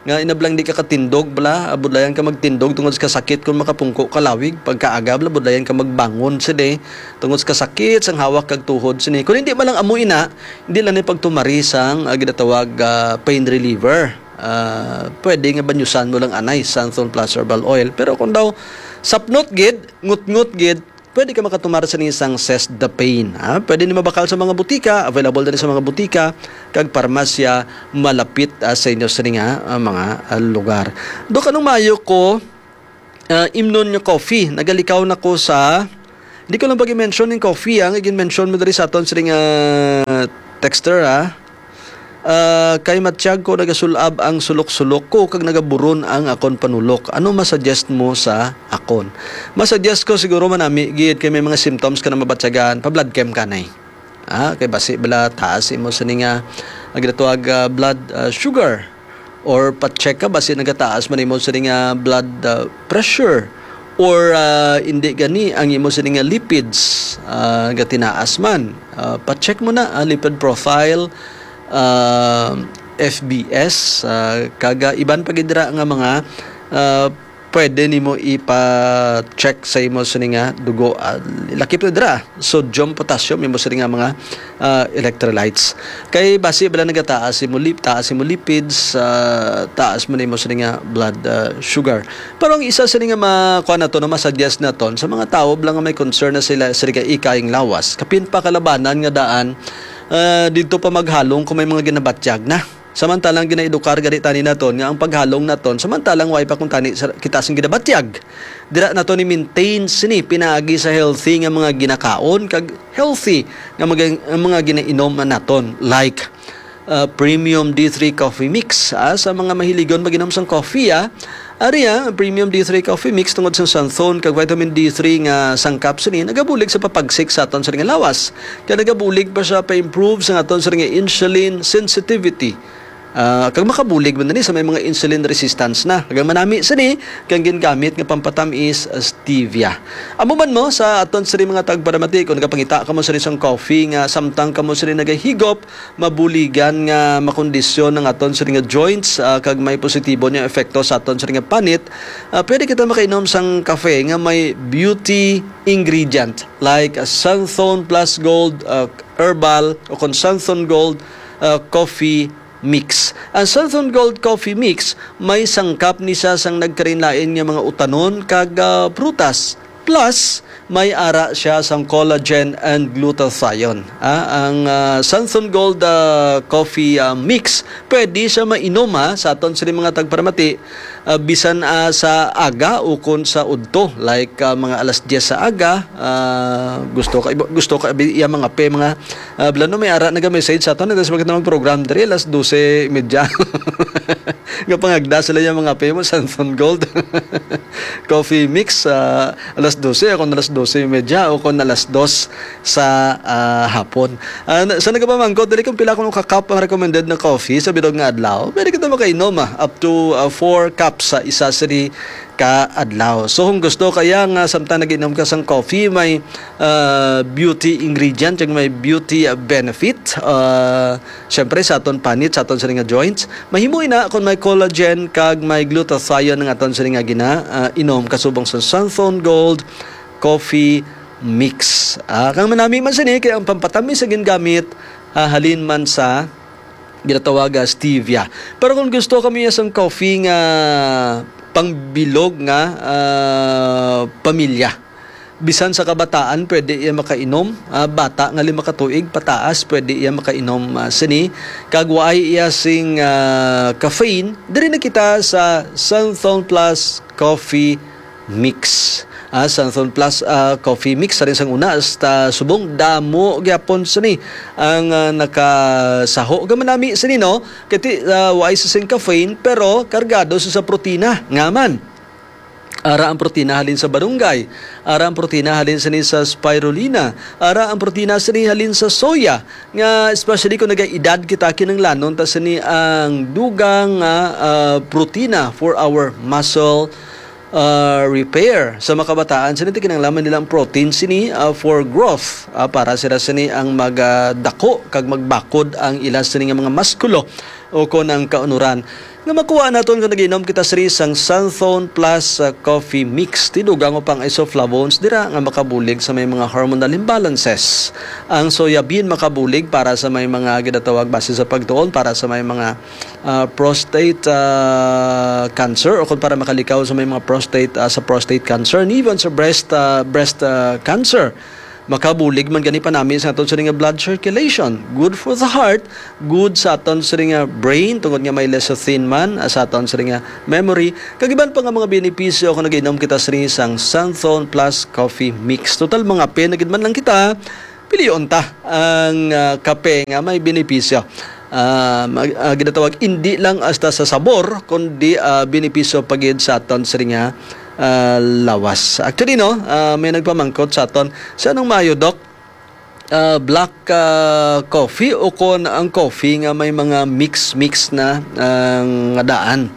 Nga inablang di ka katindog bala, ah, budlayan ka magtindog tungod sa kasakit kon makapungko ka lawig. Pagkaaga bala, budlayan ka magbangon sini tungod sa kasakit sang hawak kag tuhod sini. Kung hindi man lang amo ina, hindi lang ni pagtumari sang, ah, ginatawag, ah, pain reliever. Ah, pwede nga banyusan mo lang anay sang Thon Plus Herbal Oil. Pero kung daw sapnot gid, ngutngot gid, pwede ka makatumar sa isang Sest the Pain, ha? Pwede ni mabakal sa mga butika, available din sa mga butika kag parmasya malapit, ah, sa inyo sa nga, ah, mga, ah, lugar. Do kanong maayo ko, ah, imnon nga coffee. Nagalikaw na ko sa, di ko lang pag-mention ning coffee, ah, nga gin-mention mo diri sa aton sa nga texter, ha. Ah, kay matyag ko, nagasul-ab ang sulok-sulok ko kag nagaburon ang akon panulok. Ano masuggest mo sa akon? Masuggest ko siguro manami gid kay may mga symptoms ka na mabatyagan, pa-blood chem ka nay. Ah, kay basi bala taas imo sa nga, ang ginatawag, ah, blood, ah, sugar, or pa-check ka basi nagataas man imo sa nga blood, ah, pressure, or, ah, hindi gani ang imo sa nga lipids, ah, gatinaas man. Ah, pa-check mo na, ah, lipid profile, ah, F B S, ah, kaga iban pa gid dira nga mga, ah, pwede nimo ipa-check sa imo sini nga dugo. Ah, lakip na dira, sodium, potassium, imo sini nga mga, ah, electrolytes. Kay basi bala nagataas imo lip-, taas imo lipids, ah, taas man imo sini nga blood, ah, sugar. Pero ang isa sini nga ma-, kuan nato, no, masuggest naton sa mga tawo bala nga may concern na sila sa ika-, ikayang lawas, kapin pa kalabanan nga daan, ah, didto pa maghalong kung may mga ginabatyag na. Samantalang ginaedukar gani tani naton nga ang paghalong naton, samantalang way pa kung tani sa, kita sing ginabatyag. Dira naton i-maintain sini pinaagi sa healthy nga mga ginakaon kag healthy nga mga, mga ginainom naton, like, ah, premium D three coffee mix, ah, sa mga mahiligon mag-inom sang coffee, ah. Ari, ah, ang premium D three coffee mix tungod sa xanthone kag vitamin D three nga sangkap sini nagabulig sa papagsik sa aton sini nga lawas. Kag nagabulig pa siya pa-improve sa aton sini nga insulin sensitivity. Ah, kag makabulig man ni sa may mga insulin resistance na. Kag ang manami sini kang gingamit nga pampatamis, ah, stevia. Amo man mo sa aton sini mga tagparamati, kung nagapangita kamo sini sang coffee nga samtang kamo sini nagahigop, mabuligan nga makondisyon ang aton sini nga joints, ah, kag may positibo niya epekto sa aton sini nga panit, ah, pwede kita makainom sang kafe nga may beauty ingredient like, ah, Xanthone Plus Gold, ah, Herbal, o kon Xanthone Gold, ah, Coffee Mix. Ang Xanthone Gold Coffee Mix may sangkap ni siya sang nagkalain-lain nga mga utanon kag, ah, prutas. Plus, may ara siya sang collagen and glutathione. Ah, ang, ah, Xanthone Gold, ah, Coffee, ah, Mix, pwede siya mainom, ha, sa aton sini mga tagparamati, ah, bisan, ah, sa aga ukon sa udto, like, ah, mga alas diyes sa aga, ah, gusto ka, gusto ka abi-, iya mga pe, mga, ah, blano, may ara naga-message sa aton, nagdasbag na mag-program diri alas dose y media. Nga pangagda sila yung mga pe mo, Xanthone Gold. Coffee mix, ah, alas dose, o kung alas dose y media, o kung alas dos sa, ah, hapon. Ah, na-, sa nagapamangkot, dili kung pila kuno ka cup ang recommended na coffee sa bilog nga adlaw, pwede kita makainom, ah, up to, ah, four cups sa isa sini ka adlaw. So, kung gusto kaya nga samtang nag-inom ka sang coffee, may, ah, beauty ingredient, yung may beauty, ah, benefit, ah, syempre sa aton panit, sa aton sini nga joints, mahimo ina kung may collagen kag may glutathione ang aton sini nga gina, ah, inom kasubong sa Xanthone Gold Coffee Mix. Ah, kang manami man sini kay ang pampatamis sa gingamit, ah, halin man sa ginatawag, ah, stevia. Pero kung gusto kami sang coffee nga pangbilog nga, ah, pamilya, bisan sa kabataan pwede iya makainom. Ah, bata nga lima ka tuig pataas pwede iya makainom, ah, sini. Kag waay iya sing, ah, caffeine, diri na kita sa Xanthone Plus Coffee Mix. Ah, Xanthone Plus, ah, Coffee Mix, sa rin sang una, hasta subong, damo gyapon sini ang, ah, nakasaho. Gamanami sini, no? Kati, ah, waay sa sing caffeine, pero kargado sa, sa protina. Nga man, ara ang protina halin sa barunggay, ara ang protina halin sini sa spirulina, ara ang protina sini halin sa soya, nga especially kung nagaedad kita, kinahanglanon ta sini ang dugang nga, ah, protina for our muscle, ah, repair. Sa makabataan sini, kinahanglan nila ang protein sini, ah, for growth, ah, para sila sini ang magdako kag magbakod ang ila sini nga mga muskulo. o kon ang kaunuran nga makuha naton kung nag-inom kita sini sang Santhon Plus, ah, Coffee Mix. Tidugang upang isoflavones dira nga makabulig sa may mga hormonal imbalances. Ang soya bean makabulig para sa may mga ginatawag base sa pagtuon para sa may mga, ah, prostate, ah, cancer o kung para makalikaw sa may mga prostate, ah, sa prostate cancer and even sa breast, ah, breast, ah, cancer. Makabulig man gani panami sa aton sini nga blood circulation. Good for the heart, good sa aton sini nga brain, tungod nga may lecithin man, ah, sa aton sini nga memory. Kag iban pa nga mga benepisyo kung nag-inom kita sini sang Santhon Plus Coffee Mix. Total, mga pe na gid man lang kita, pilion ta ang, ah, kape nga may benepisyo. Ah, mag-, ah, ginatawag, hindi lang hasta sa sabor, kundi, ah, benepisyo pa gid sa aton sini nga, ah, lawas. Actually, no, ah, may nagpamangkot sa aton, sa anong maayo, Doc? Ah, black, ah, coffee o kon ang coffee nga may mga mix-mix na, ah, nga daan?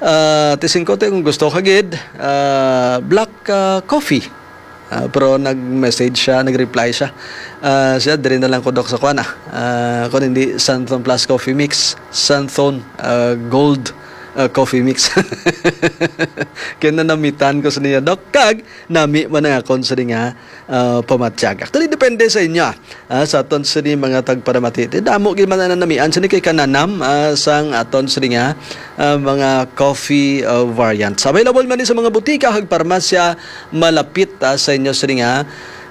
Ah, T singko, kung gusto ka gid, ah, black, ah, coffee. Ah, pero nag-message siya, nag-reply siya. Ah, siya, diri na lang ko, Doc, sa kuan, ah. Ah, kung hindi, Santhon Plus Coffee Mix, Santhon, ah, Gold, ah, Coffee Mix. Kaya nanamitan ko sa niya, Doc. Kag, nami man ang akon sa nga, ah, pamatyag. Actually, depende sa inyo, ah, sa aton sini mga tagparamati. Ti damo gid man ang namian sini kay kananam, ah, sang aton sini nga, ah, mga coffee, ah, variants. Available man ni sa mga butika kag parmasya malapit, ah, sa inyo sini nga,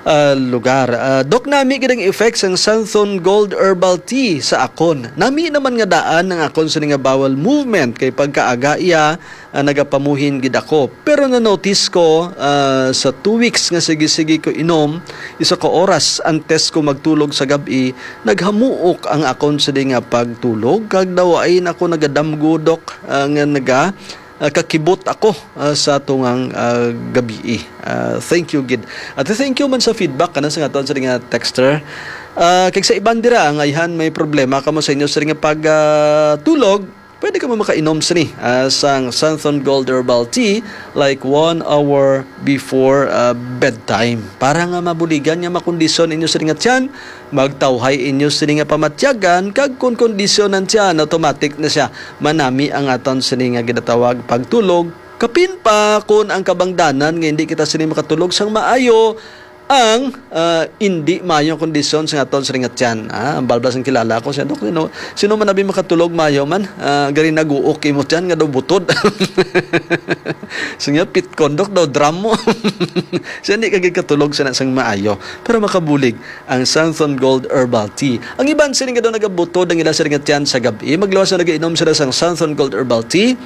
ah, lugar. Ah, Doc, nami gid ang effects sang Santhon Gold Herbal Tea sa akon. Nami naman nga daan ang akon sini nga bowel movement kay pagkaaga iya, ah, nagapamuhin gid ako. Pero na-notice ko, ah, sa two weeks nga sige-sige ko inom, isa ka oras antes ko magtulog sa gab-i, naghamuok ang akon sini nga pagtulog, kag daw ay na ako nagadamgo, Doc, ah, nga naga, ah, kakibot ako, ah, sa tungang, ah, gabii. Ah, thank you gid. At thank you man sa feedback kana sa aton sini nga texter. Ah, kag sa iban dira, nga ayhan may problema kamo sa inyo sini nga pag, ah, tulog, pwede kamo makainom sini, ah, sang Santhon Gold Herbal Tea, like, one hour before, ah, bedtime. Para nga mabuligan nga makondisyon inyo sini nga tiyan, magtawhay inyo sini nga pamatyagan, kag kon kondisyon ang tiyan, automatic na siya manami ang aton sini nga ginatawag pagtulog. Kapin pa kon ang kabangdanan nga hindi kita sini makatulog sang maayo, ang, ah, indi maayong kondisyon sa aton sini nga tiyan. Ah, ang balbas ang kilala ko siya, "Dok, sino, sino man abi makatulog maayo man? Ah, gari naguok imo tiyan nga daw butod." Siya, "Pitkon, Dok, daw drum mo." Siya, hindi ka gid katulog sa sang maayo. Pero makabulig ang Santhon Gold Herbal Tea. Ang iban sini nga daw nagabutod ang ila sini nga tiyan sa gab-i, magluwas na nagainom sila sang Santhon Gold Herbal Tea.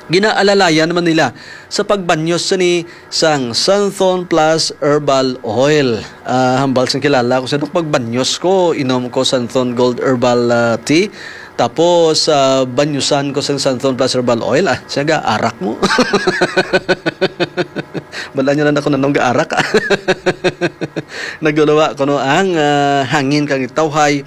Ginaalalayan man nila sa pagbanyos sini sang Santhon Plus Herbal Oil. Ah, hambal sang kilala ko sa, "Dok, pagbanyos ko, inom ko Santhon Gold Herbal, ah, Tea. Tapos, ah, banyusan ko sang Santhon Plus Herbal Oil." Ah, siya, "Ga-arak mo." Bala niyo na ako nanong gaarak. Nagulawa ko, no, ang, ah, hangin kang itawhay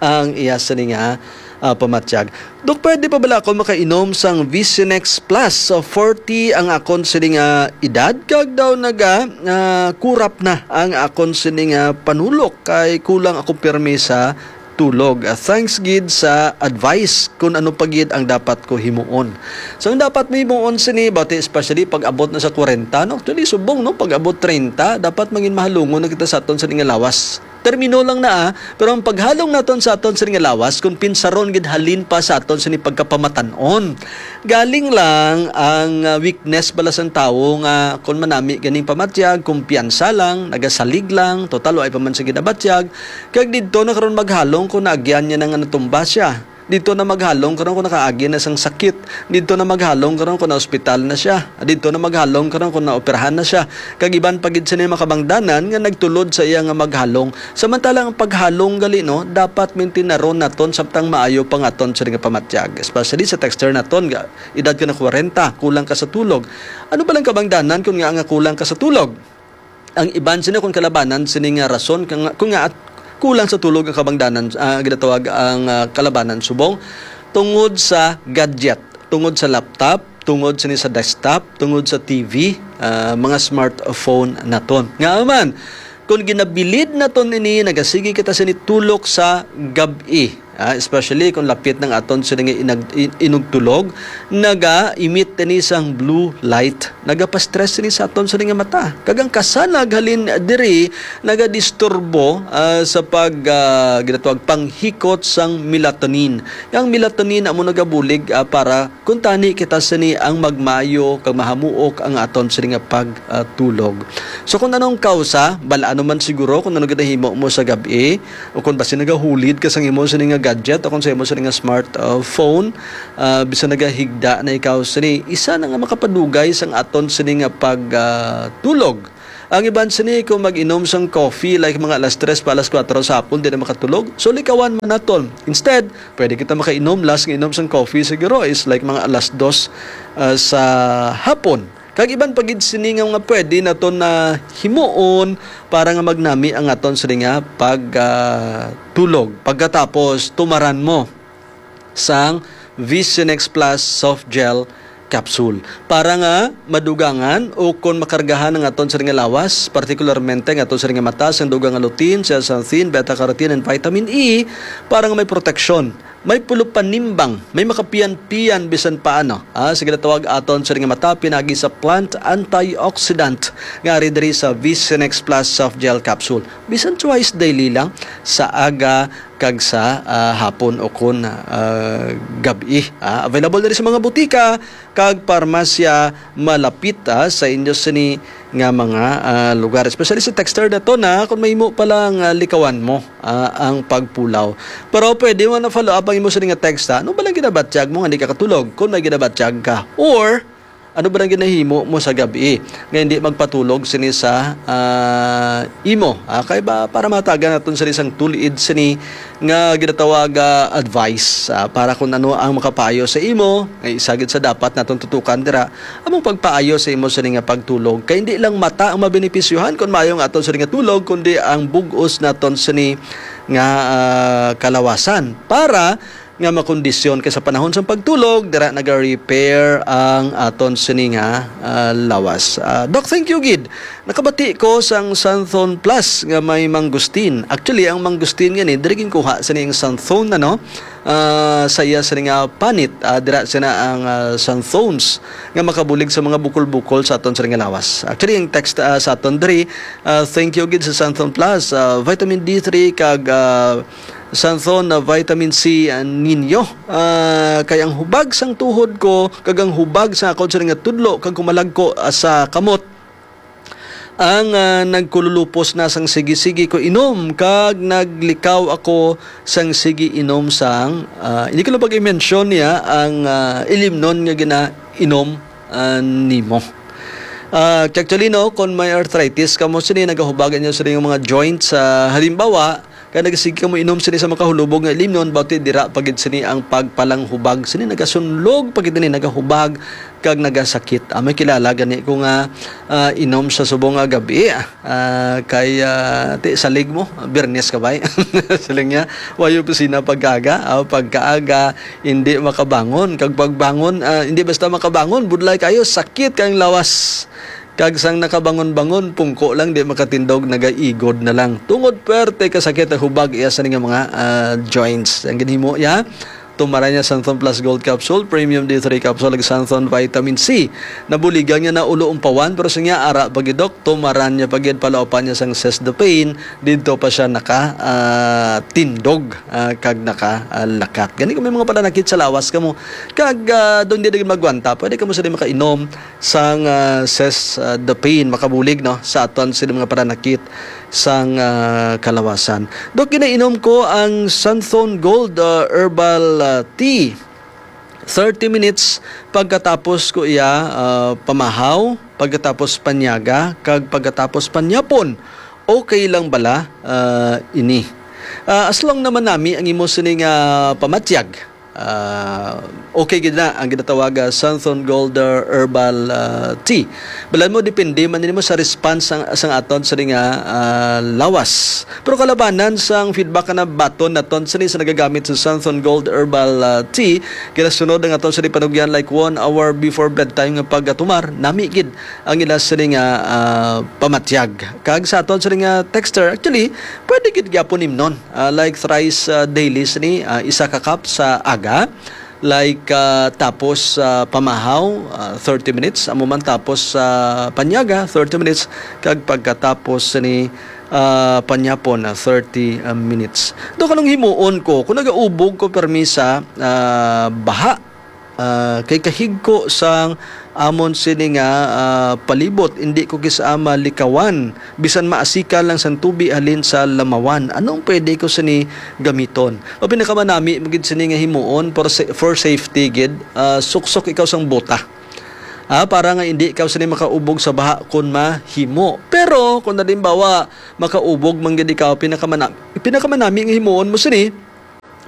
ang iya sini nga, ah, pamatyag. "Dok, pwede pa bala ako makainom sang Visionex Plus? So, forty ang akon sini nga edad, kag daw naga, ah, kurap na ang akon sini nga panulok, kay kulang ako pirmi sa tulog. Ah, thanks gid sa advice kung ano pa gid ang dapat ko himuon." So, ang dapat mo himuon sini, bati, especially pag abot na sa kwarenta, no? Actually, subong, no? Pag abot treinta, dapat mangin mahalungon na kita sa aton sini nga lawas. Termino lang na, ah, pero ang paghalong naton sa aton sini nga lawas, kung pinsaron gid halin pa sa aton sini pagkapamatan-on. Galing lang ang, ah, weakness bala sang tawo nga kung manami ganing pamatyag, kumpiyansa lang, nagasalig lang, total, wa pa man siya ginabatyag. Kag didto na karon maghalong kung naagyan niya na nga natumba siya. Didto na maghalong karon kung nakaagi na sang sakit. Didto na maghalong karon kung na-ospital na siya. Didto na maghalong karon kung naoperahan na siya. Kag iban pa gid sini makabangdanan nga nagtulod sa iya nga maghalong. Samantala ang paghalong gali, no, dapat mintinar-on naton samtang maayo pa nga aton sini nga pamatyag. Especially sa texter naton nga edad ka na kwarenta, kulang ka sa tulog. Ano ba lang kabangdanan kung nga, nga kulang ka sa tulog? Ang iban sini kung kalabanan sini nga rason, kung nga, kung nga at kulang sa tulog ang kabangdanan, ah, ginatawag ang, ah, kalabanan subong tungod sa gadget, tungod sa laptop, tungod sini sa desktop, tungod sa T V, ah, mga smartphone naton. Nga man, kung ginabilid naton ini, nagasigi kita sini tulok sa gab-i. Ah, especially kung lapit ng aton sini nga inag-, in-, inugtulog, naga-emit ini sang blue light. Nagapastress ini sa aton sini nga mata. Kag ang kasanag halin diri nagadisturbo, ah, sa pag, ah, ginatawag panghikot sang melatonin. Ang melatonin amo nagabulig, ah, para kuntani kita sini ang magmayo kag mahamuok ang aton sini nga pag, ah, tulog. So kung anong kausa, bal-ano man siguro kung ano ginahimo mo sa gab-i, o kung basi nagahulid ka sang imo sini nga gadget o kung sa imo sini nga smart, uh, phone, uh, bisan nagahigda na ikaw sini, isa na nga makapadugay sang aton sini nga pag, uh, tulog. Ang iban sini kung mag-inom sang coffee like mga alas tres pa alas kuwatro sa hapon, di na makatulog. So likawan man naton. Instead, pwede kita makainom, last nga inom sang coffee siguro is like mga alas dos, uh, sa hapon. Kag iban pa gid sini nga mga pwede naton na himuon para nga magnami ang aton sini nga pag, ah, tulog. Pagkatapos, tumaran mo sang Visionex Plus Soft Gel Capsule para nga madugangan o kon makargahan ang aton sini nga lawas, partikularmente ang aton sini nga mata, sang dugang nga lutein, zeaxanthin, beta-carotene, and vitamin E para nga may proteksyon. May pulupanimbang, may makapiyan-piyan bisan paano. Ah, sige, tawag aton sa nga mata pinagi sa plant antioxidant nga ari diri sa Visionex Plus Soft Gel Capsule. Bisan twice daily lang sa aga kag sa, ah, hapon o kon, ah, gab-i. Ah, available diri sa mga butika kag parmasya malapit, ah, sa inyo sini nga mga, ah, lugar. Especially sa texter na to na kung mahimo pa lang, ah, likawan mo, ah, ang pagpulaw. Pero pwede mo na follow up ang imo sini nga text, ha? Ano ba lang ginabatyag mo nga di ka katulog kung may ginabatyag ka? Or ano ba lang ginahimo mo sa gabi nga hindi magpatulog sini sa, ah, imo? Ah, kay ba para matagan naton sini sang tulid sini nga ginatawag, ah, advice, ah, para kung ano ang makapayo sa imo, ay isa gid sa dapat naton tutukan dira, among pagpaayo sa imo sini nga pagtulog. Kay hindi lang mata ang mabenepisyohan kun maayo ang aton sini nga tulog, kundi ang bug-os naton sini nga, ah, kalawasan para nga makondisyon. Kay sa panahon sang pagtulog, dira naga-repair ang aton sini nga, ah, lawas. Ah, Doc, thank you gid. Nakabati ko sang Santhon Plus nga may mangustin. Actually, ang mangustin nga ni, diri ginkuha sa ning Santhon, ano? Ah, sa iya sa nga panit, ah, dira sina ang, ah, Santhones nga makabulig sa mga bukol-bukol sa aton sa nga lawas. Actually, ang text, ah, sa aton diri, ah, thank you gid sa Santhon Plus, ah, vitamin D three kag, ah, Santhon na vitamin C, ah, ninyo. Ah, kay ang hubag sang tuhod ko kag ang hubag sa akon sa nga tudlo kag kumalagko, ah, sa kamot ang, ah, nagkululupos na sang sige-sige ko inom, kag naglikaw ako sang sige inom sang, ah, hindi ko lang pag-i-mention niya ang, ah, ilimnon nga ginainom, ah, nimo. Ah, actually, no, kung may arthritis ka mo, sini nagahubagan niya sa iyong mga joints. Ah, halimbawa, kag nagasig ka mo inom sini sa makahulubog nga ilimnon, bati dira pa gid sini ang pagpalanghubag. Sini nagasunlog pa gid ni nagahubag kag nagasakit. Ah, may kilala gani ko nga, ah, inom sa subong nga gabi, ah, kay, ah, ti salig mo, Biyernes ka bay? Siling niya, "Way opisina pagkaaga." Ah, pagkaaga, hindi makabangon. Kag pagbangon, ah, hindi basta makabangon, budlay kayo, sakit kayong lawas. Kag sang nakabangon-bangon, pungko lang, di makatindog, nagaigod na lang. Tungod perte kasakit ang hubag iya sa nga mga, ah, joints. Ang ginhimo iya, tumaran niya Santhon Plus Gold Capsule, Premium D three Capsule, ug Santhon Vitamin C. Nabuligan niya na ulo umpawan, pero sa niya, ara pa gid, Doc, tumaran niya pa gid, palaupan niya sang Cess the Pain, didto pa siya naka, ah, tindog, ah, kag naka, ah, lakat. Gani kung may mga pananakit sa lawas kamo, kag, ah, doon di na magwanta, pwede kamo sila makainom sang, ah, Cess, ah, the Pain, makabulig, no, sa aton sila mga pananakit sang, ah, kalawasan. Dok, ginainom ko ang Santhon Gold, ah, Herbal, ah, Tea. Thirty minutes pagkatapos ko iya, ah, pamahaw, pagkatapos panyaga, kag pagkatapos panyapon. Okay lang bala, ah, ini? Ah, as long naman nami ang imo sini nga pamatyag. Ah, okay gid na ang ginatawag, ah, Santhon Gold, ah, Herbal, ah, Tea. Balan mo, depende man nimo sa response sang, sang aton sa nga, ah, lawas. Pero kalabanan sang feedback na baton naton sini sa nagagamit sa Santhon Gold Herbal, ah, Tea, kinasunod ang aton sini panugyan like one hour before bedtime nga pagatumar, nami gid ang ila sini nga, ah, pamatyag. Kag sa aton sini nga texter, actually, pwede gid gyapon imnon. Ah, like thrice, ah, daily sini, ah, isa ka cup sa aga. Like, ah, tapos sa pamahaw, ah, thirty minutes. Amo man tapos sa panyaga, thirty minutes. Kag pagkatapos ni, ah, panyapon, ah, thirty, ah, minutes. Do kanong himuon ko, kung nagaubog ko permi sa, ah, baha, ah, kay kahigko sang amon sini nga, ah, palibot, hindi ko kis-a malikawan, bisan maasikan lang sang tubi halin sa lamawan. Anong pwede ko sini gamiton? O pinakamanami mo gid sini nga himuon for sa-, for safety gid, ah, suksok ikaw sang bota. Ah, para nga hindi ikaw sini makaubog sa baha kun mahimo. Pero kung halimbawa makaubog man gid ikaw, pinakamana-, pinakamanami nga himuon mo sini,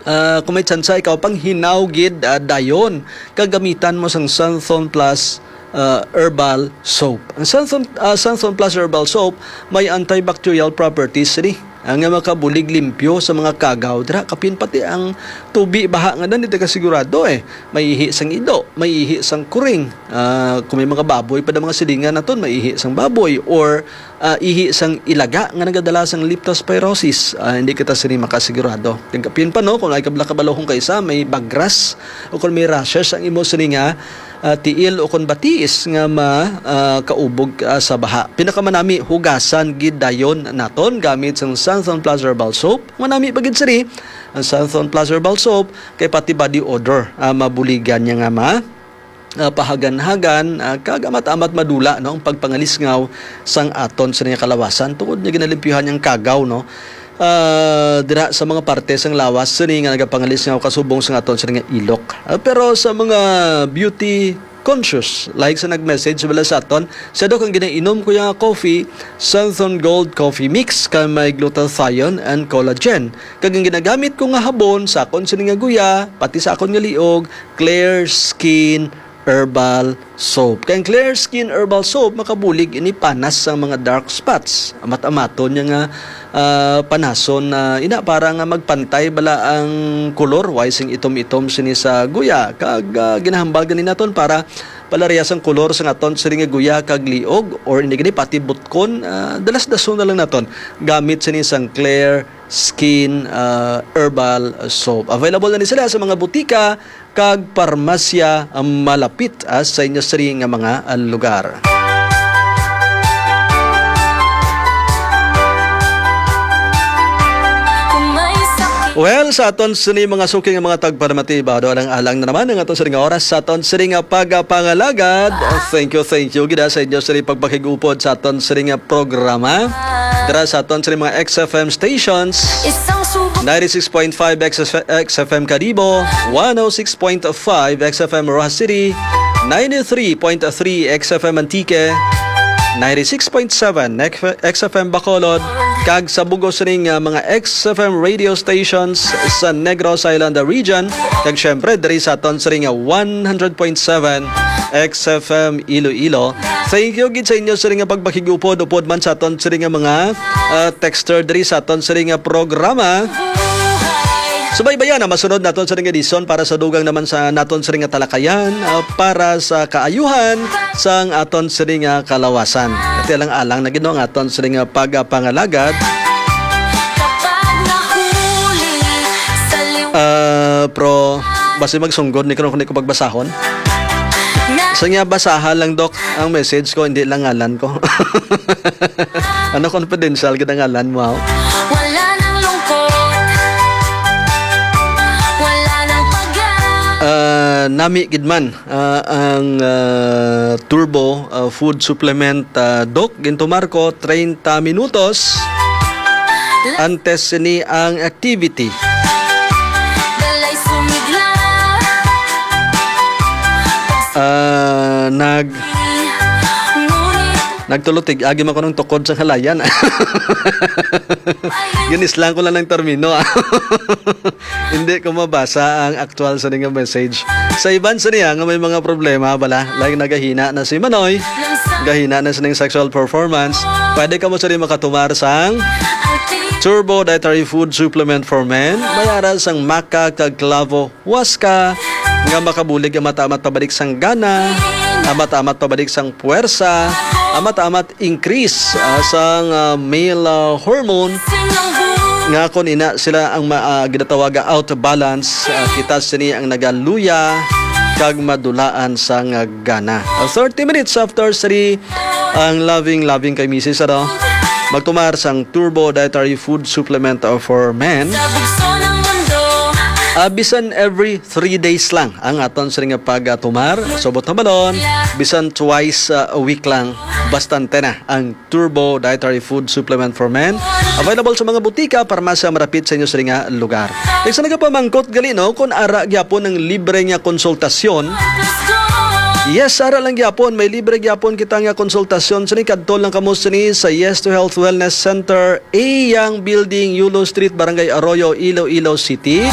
ah, kung may tsansa ikaw, panghinaw gid, ah, dayon, kag gamitan mo sang Santhon Plus, ah, Herbal Soap. Ang Santhon, ah, Santhon Plus Herbal Soap may antibacterial properties sini, ah, nga makabulig limpyo sa mga kagaw. Dira, kapin pati ang tubi baha nga nan, di ka sigurado, eh. May ihi sang ido, may ihi sang kuring. Ah, kung may mga baboy pa na mga silingan naton, may ihi sang baboy or ah, ihi sang ilaga nga nagadala sang leptospirosis, ah, hindi kita sini makasigurado. Kag kapin pa, no, kung ay kabla kabalohon kaysa may bagras o kung may rashes ang imo sini nga, ah, tiil o kung batiis nga ma, ah, kaubog, ah, sa baha. Pinakamanami, hugasan gid dayon naton gamit sang Santhon Plus Herbal Soap. Manami pa gid sini ang Santhon Plus Herbal Soap kay pati body odor, ah, mabuligan niya nga ma, ah, pahagan-hagan, ah, kag amat-amat madula, no, ang pagpangalisngaw sang aton sini nga kalawasan tungod nga ginalimpyuhan niyang kagaw, no, ah, dira sa mga parte sang lawas sini nga nagapangalisngaw kasubong sang aton sini nga ilok. Ah, pero sa mga beauty conscious, like sa nag-message bala sa aton, siya daw kang ginainom ko yung coffee, Santhon Gold Coffee Mix, kay may glutathione and collagen. Kag ang ginagamit ko nga habon sa akon sini nga guya, pati sa akon nga liog, Clear Skin Herbal Soap. Kay ang Clear Skin Herbal Soap makabulig ini panas sang mga dark spots. Amat-amaton niya nga, ah, panason na ina para nga magpantay bala ang kolor, way sing itom-itom sini sa guya. Kag, ah, ginahambal gani naton para palarias ang kolor sa aton sini nga guya kag liog, or hindi gani pati butkon, ah, dalas-dason na lang naton gamit sini sang Clear Skin, ah, Herbal Soap. Available na ni sila sa mga butika kag parmasya, ah, malapit, ah, sa inyo siri nga mga, ah, lugar. Kung may sakit. Well, sa aton sini mga suking nga mga tagparamati, bado lang alang na naman ang aton sini nga oras sa aton sini nga pagapangalagad. Thank you, thank you gid, ah, sa inyo sini pagpakig-upod sa aton sini nga programa. Dira sa aton sini mga X F M stations. Isang subo. Ninety-six point five X F M Kadibo, one oh six point five X F M Roxas City, ninety-three point three X F M Antique, ninety-six point seven X F M Bacolod, kag sa bug-os ning, ah, mga X F M radio stations sa Negros Island Region, kag syempre diri sa aton sini nga one hundred point seven X F M Iloilo. Thank you gid sa inyo sini nga pagpakig-upod, upod man sa aton sini nga mga, ah, texter diri sa aton sini nga programa. Subaybayan ang masunod naton sini nga edisyon para sa dugang naman sa naton sini nga talakayan, ah, para sa kaayuhan sang aton sini nga kalawasan. Ati lang alang na gid, no, ang aton sini nga pagapangalagad. Kapag nahuli sa liw- Ah, pro, basi magsunggod ni kuno ko pagbasahon. Sa niya, basahan lang, Doc, ang message ko, hindi lang ngalan ko. Ano, confidential gid ang ngalan mo, ah? Wala nang lungkot. Wala nang pag- Ah, nami gid man, ah, ang, ah, Turbo, ah, food supplement, ah, Doc. Gintumar ko treinta minutos antes sini ang activity. Balay sumigla. Ah, nag-, Ngunit nagtulutig, agi man ko ng tukod sa halayan. Ginislang ko lang ng termino, ah. Hindi ko mabasa ang aktual sa nga message. Sa iban sa niya nga may mga problema bala, like nagahina na si Manoy, gahina na sining sexual performance, pwede ka mo sa rin makatumar sang Turbo Dietary Food Supplement for Men, may ara sang maca kag clavo huasca, nga makabulig ang mata-amat pabalik sang gana, ang mata-amat pabalik sang puwersa, ang mata-amat increase, ah, sang, ah, male, ah, hormone, Nga kon ina sila ang ma-, ah, ginatawaga out of balance, ah, kita sini ang nagaluya kag madulaan sang gana. Ah, thirty minutes after three, ang loving, loving kay misis, ano? Magtumar sang Turbo Dietary Food Supplement, ah, for Men. Ah, bisan every three days lang ang aton sini nga pagtumar. Subot na balon, bisan twice, ah, a week lang, bastante na ang Turbo Dietary Food Supplement for Men. Available sa mga butika, parmasya, marapit sa inyo sini nga lugar. Kay sa nagapamangkot gali, no, kung ara gyapon ang libre nga konsultasyon, yes, ara lang gyapon, may libre gyapon kita nga konsultasyon. Sini kadto lang kamo sini sa Yes to Health Wellness Center, A Yang Building, Yulo Street, Barangay Arroyo, Iloilo City.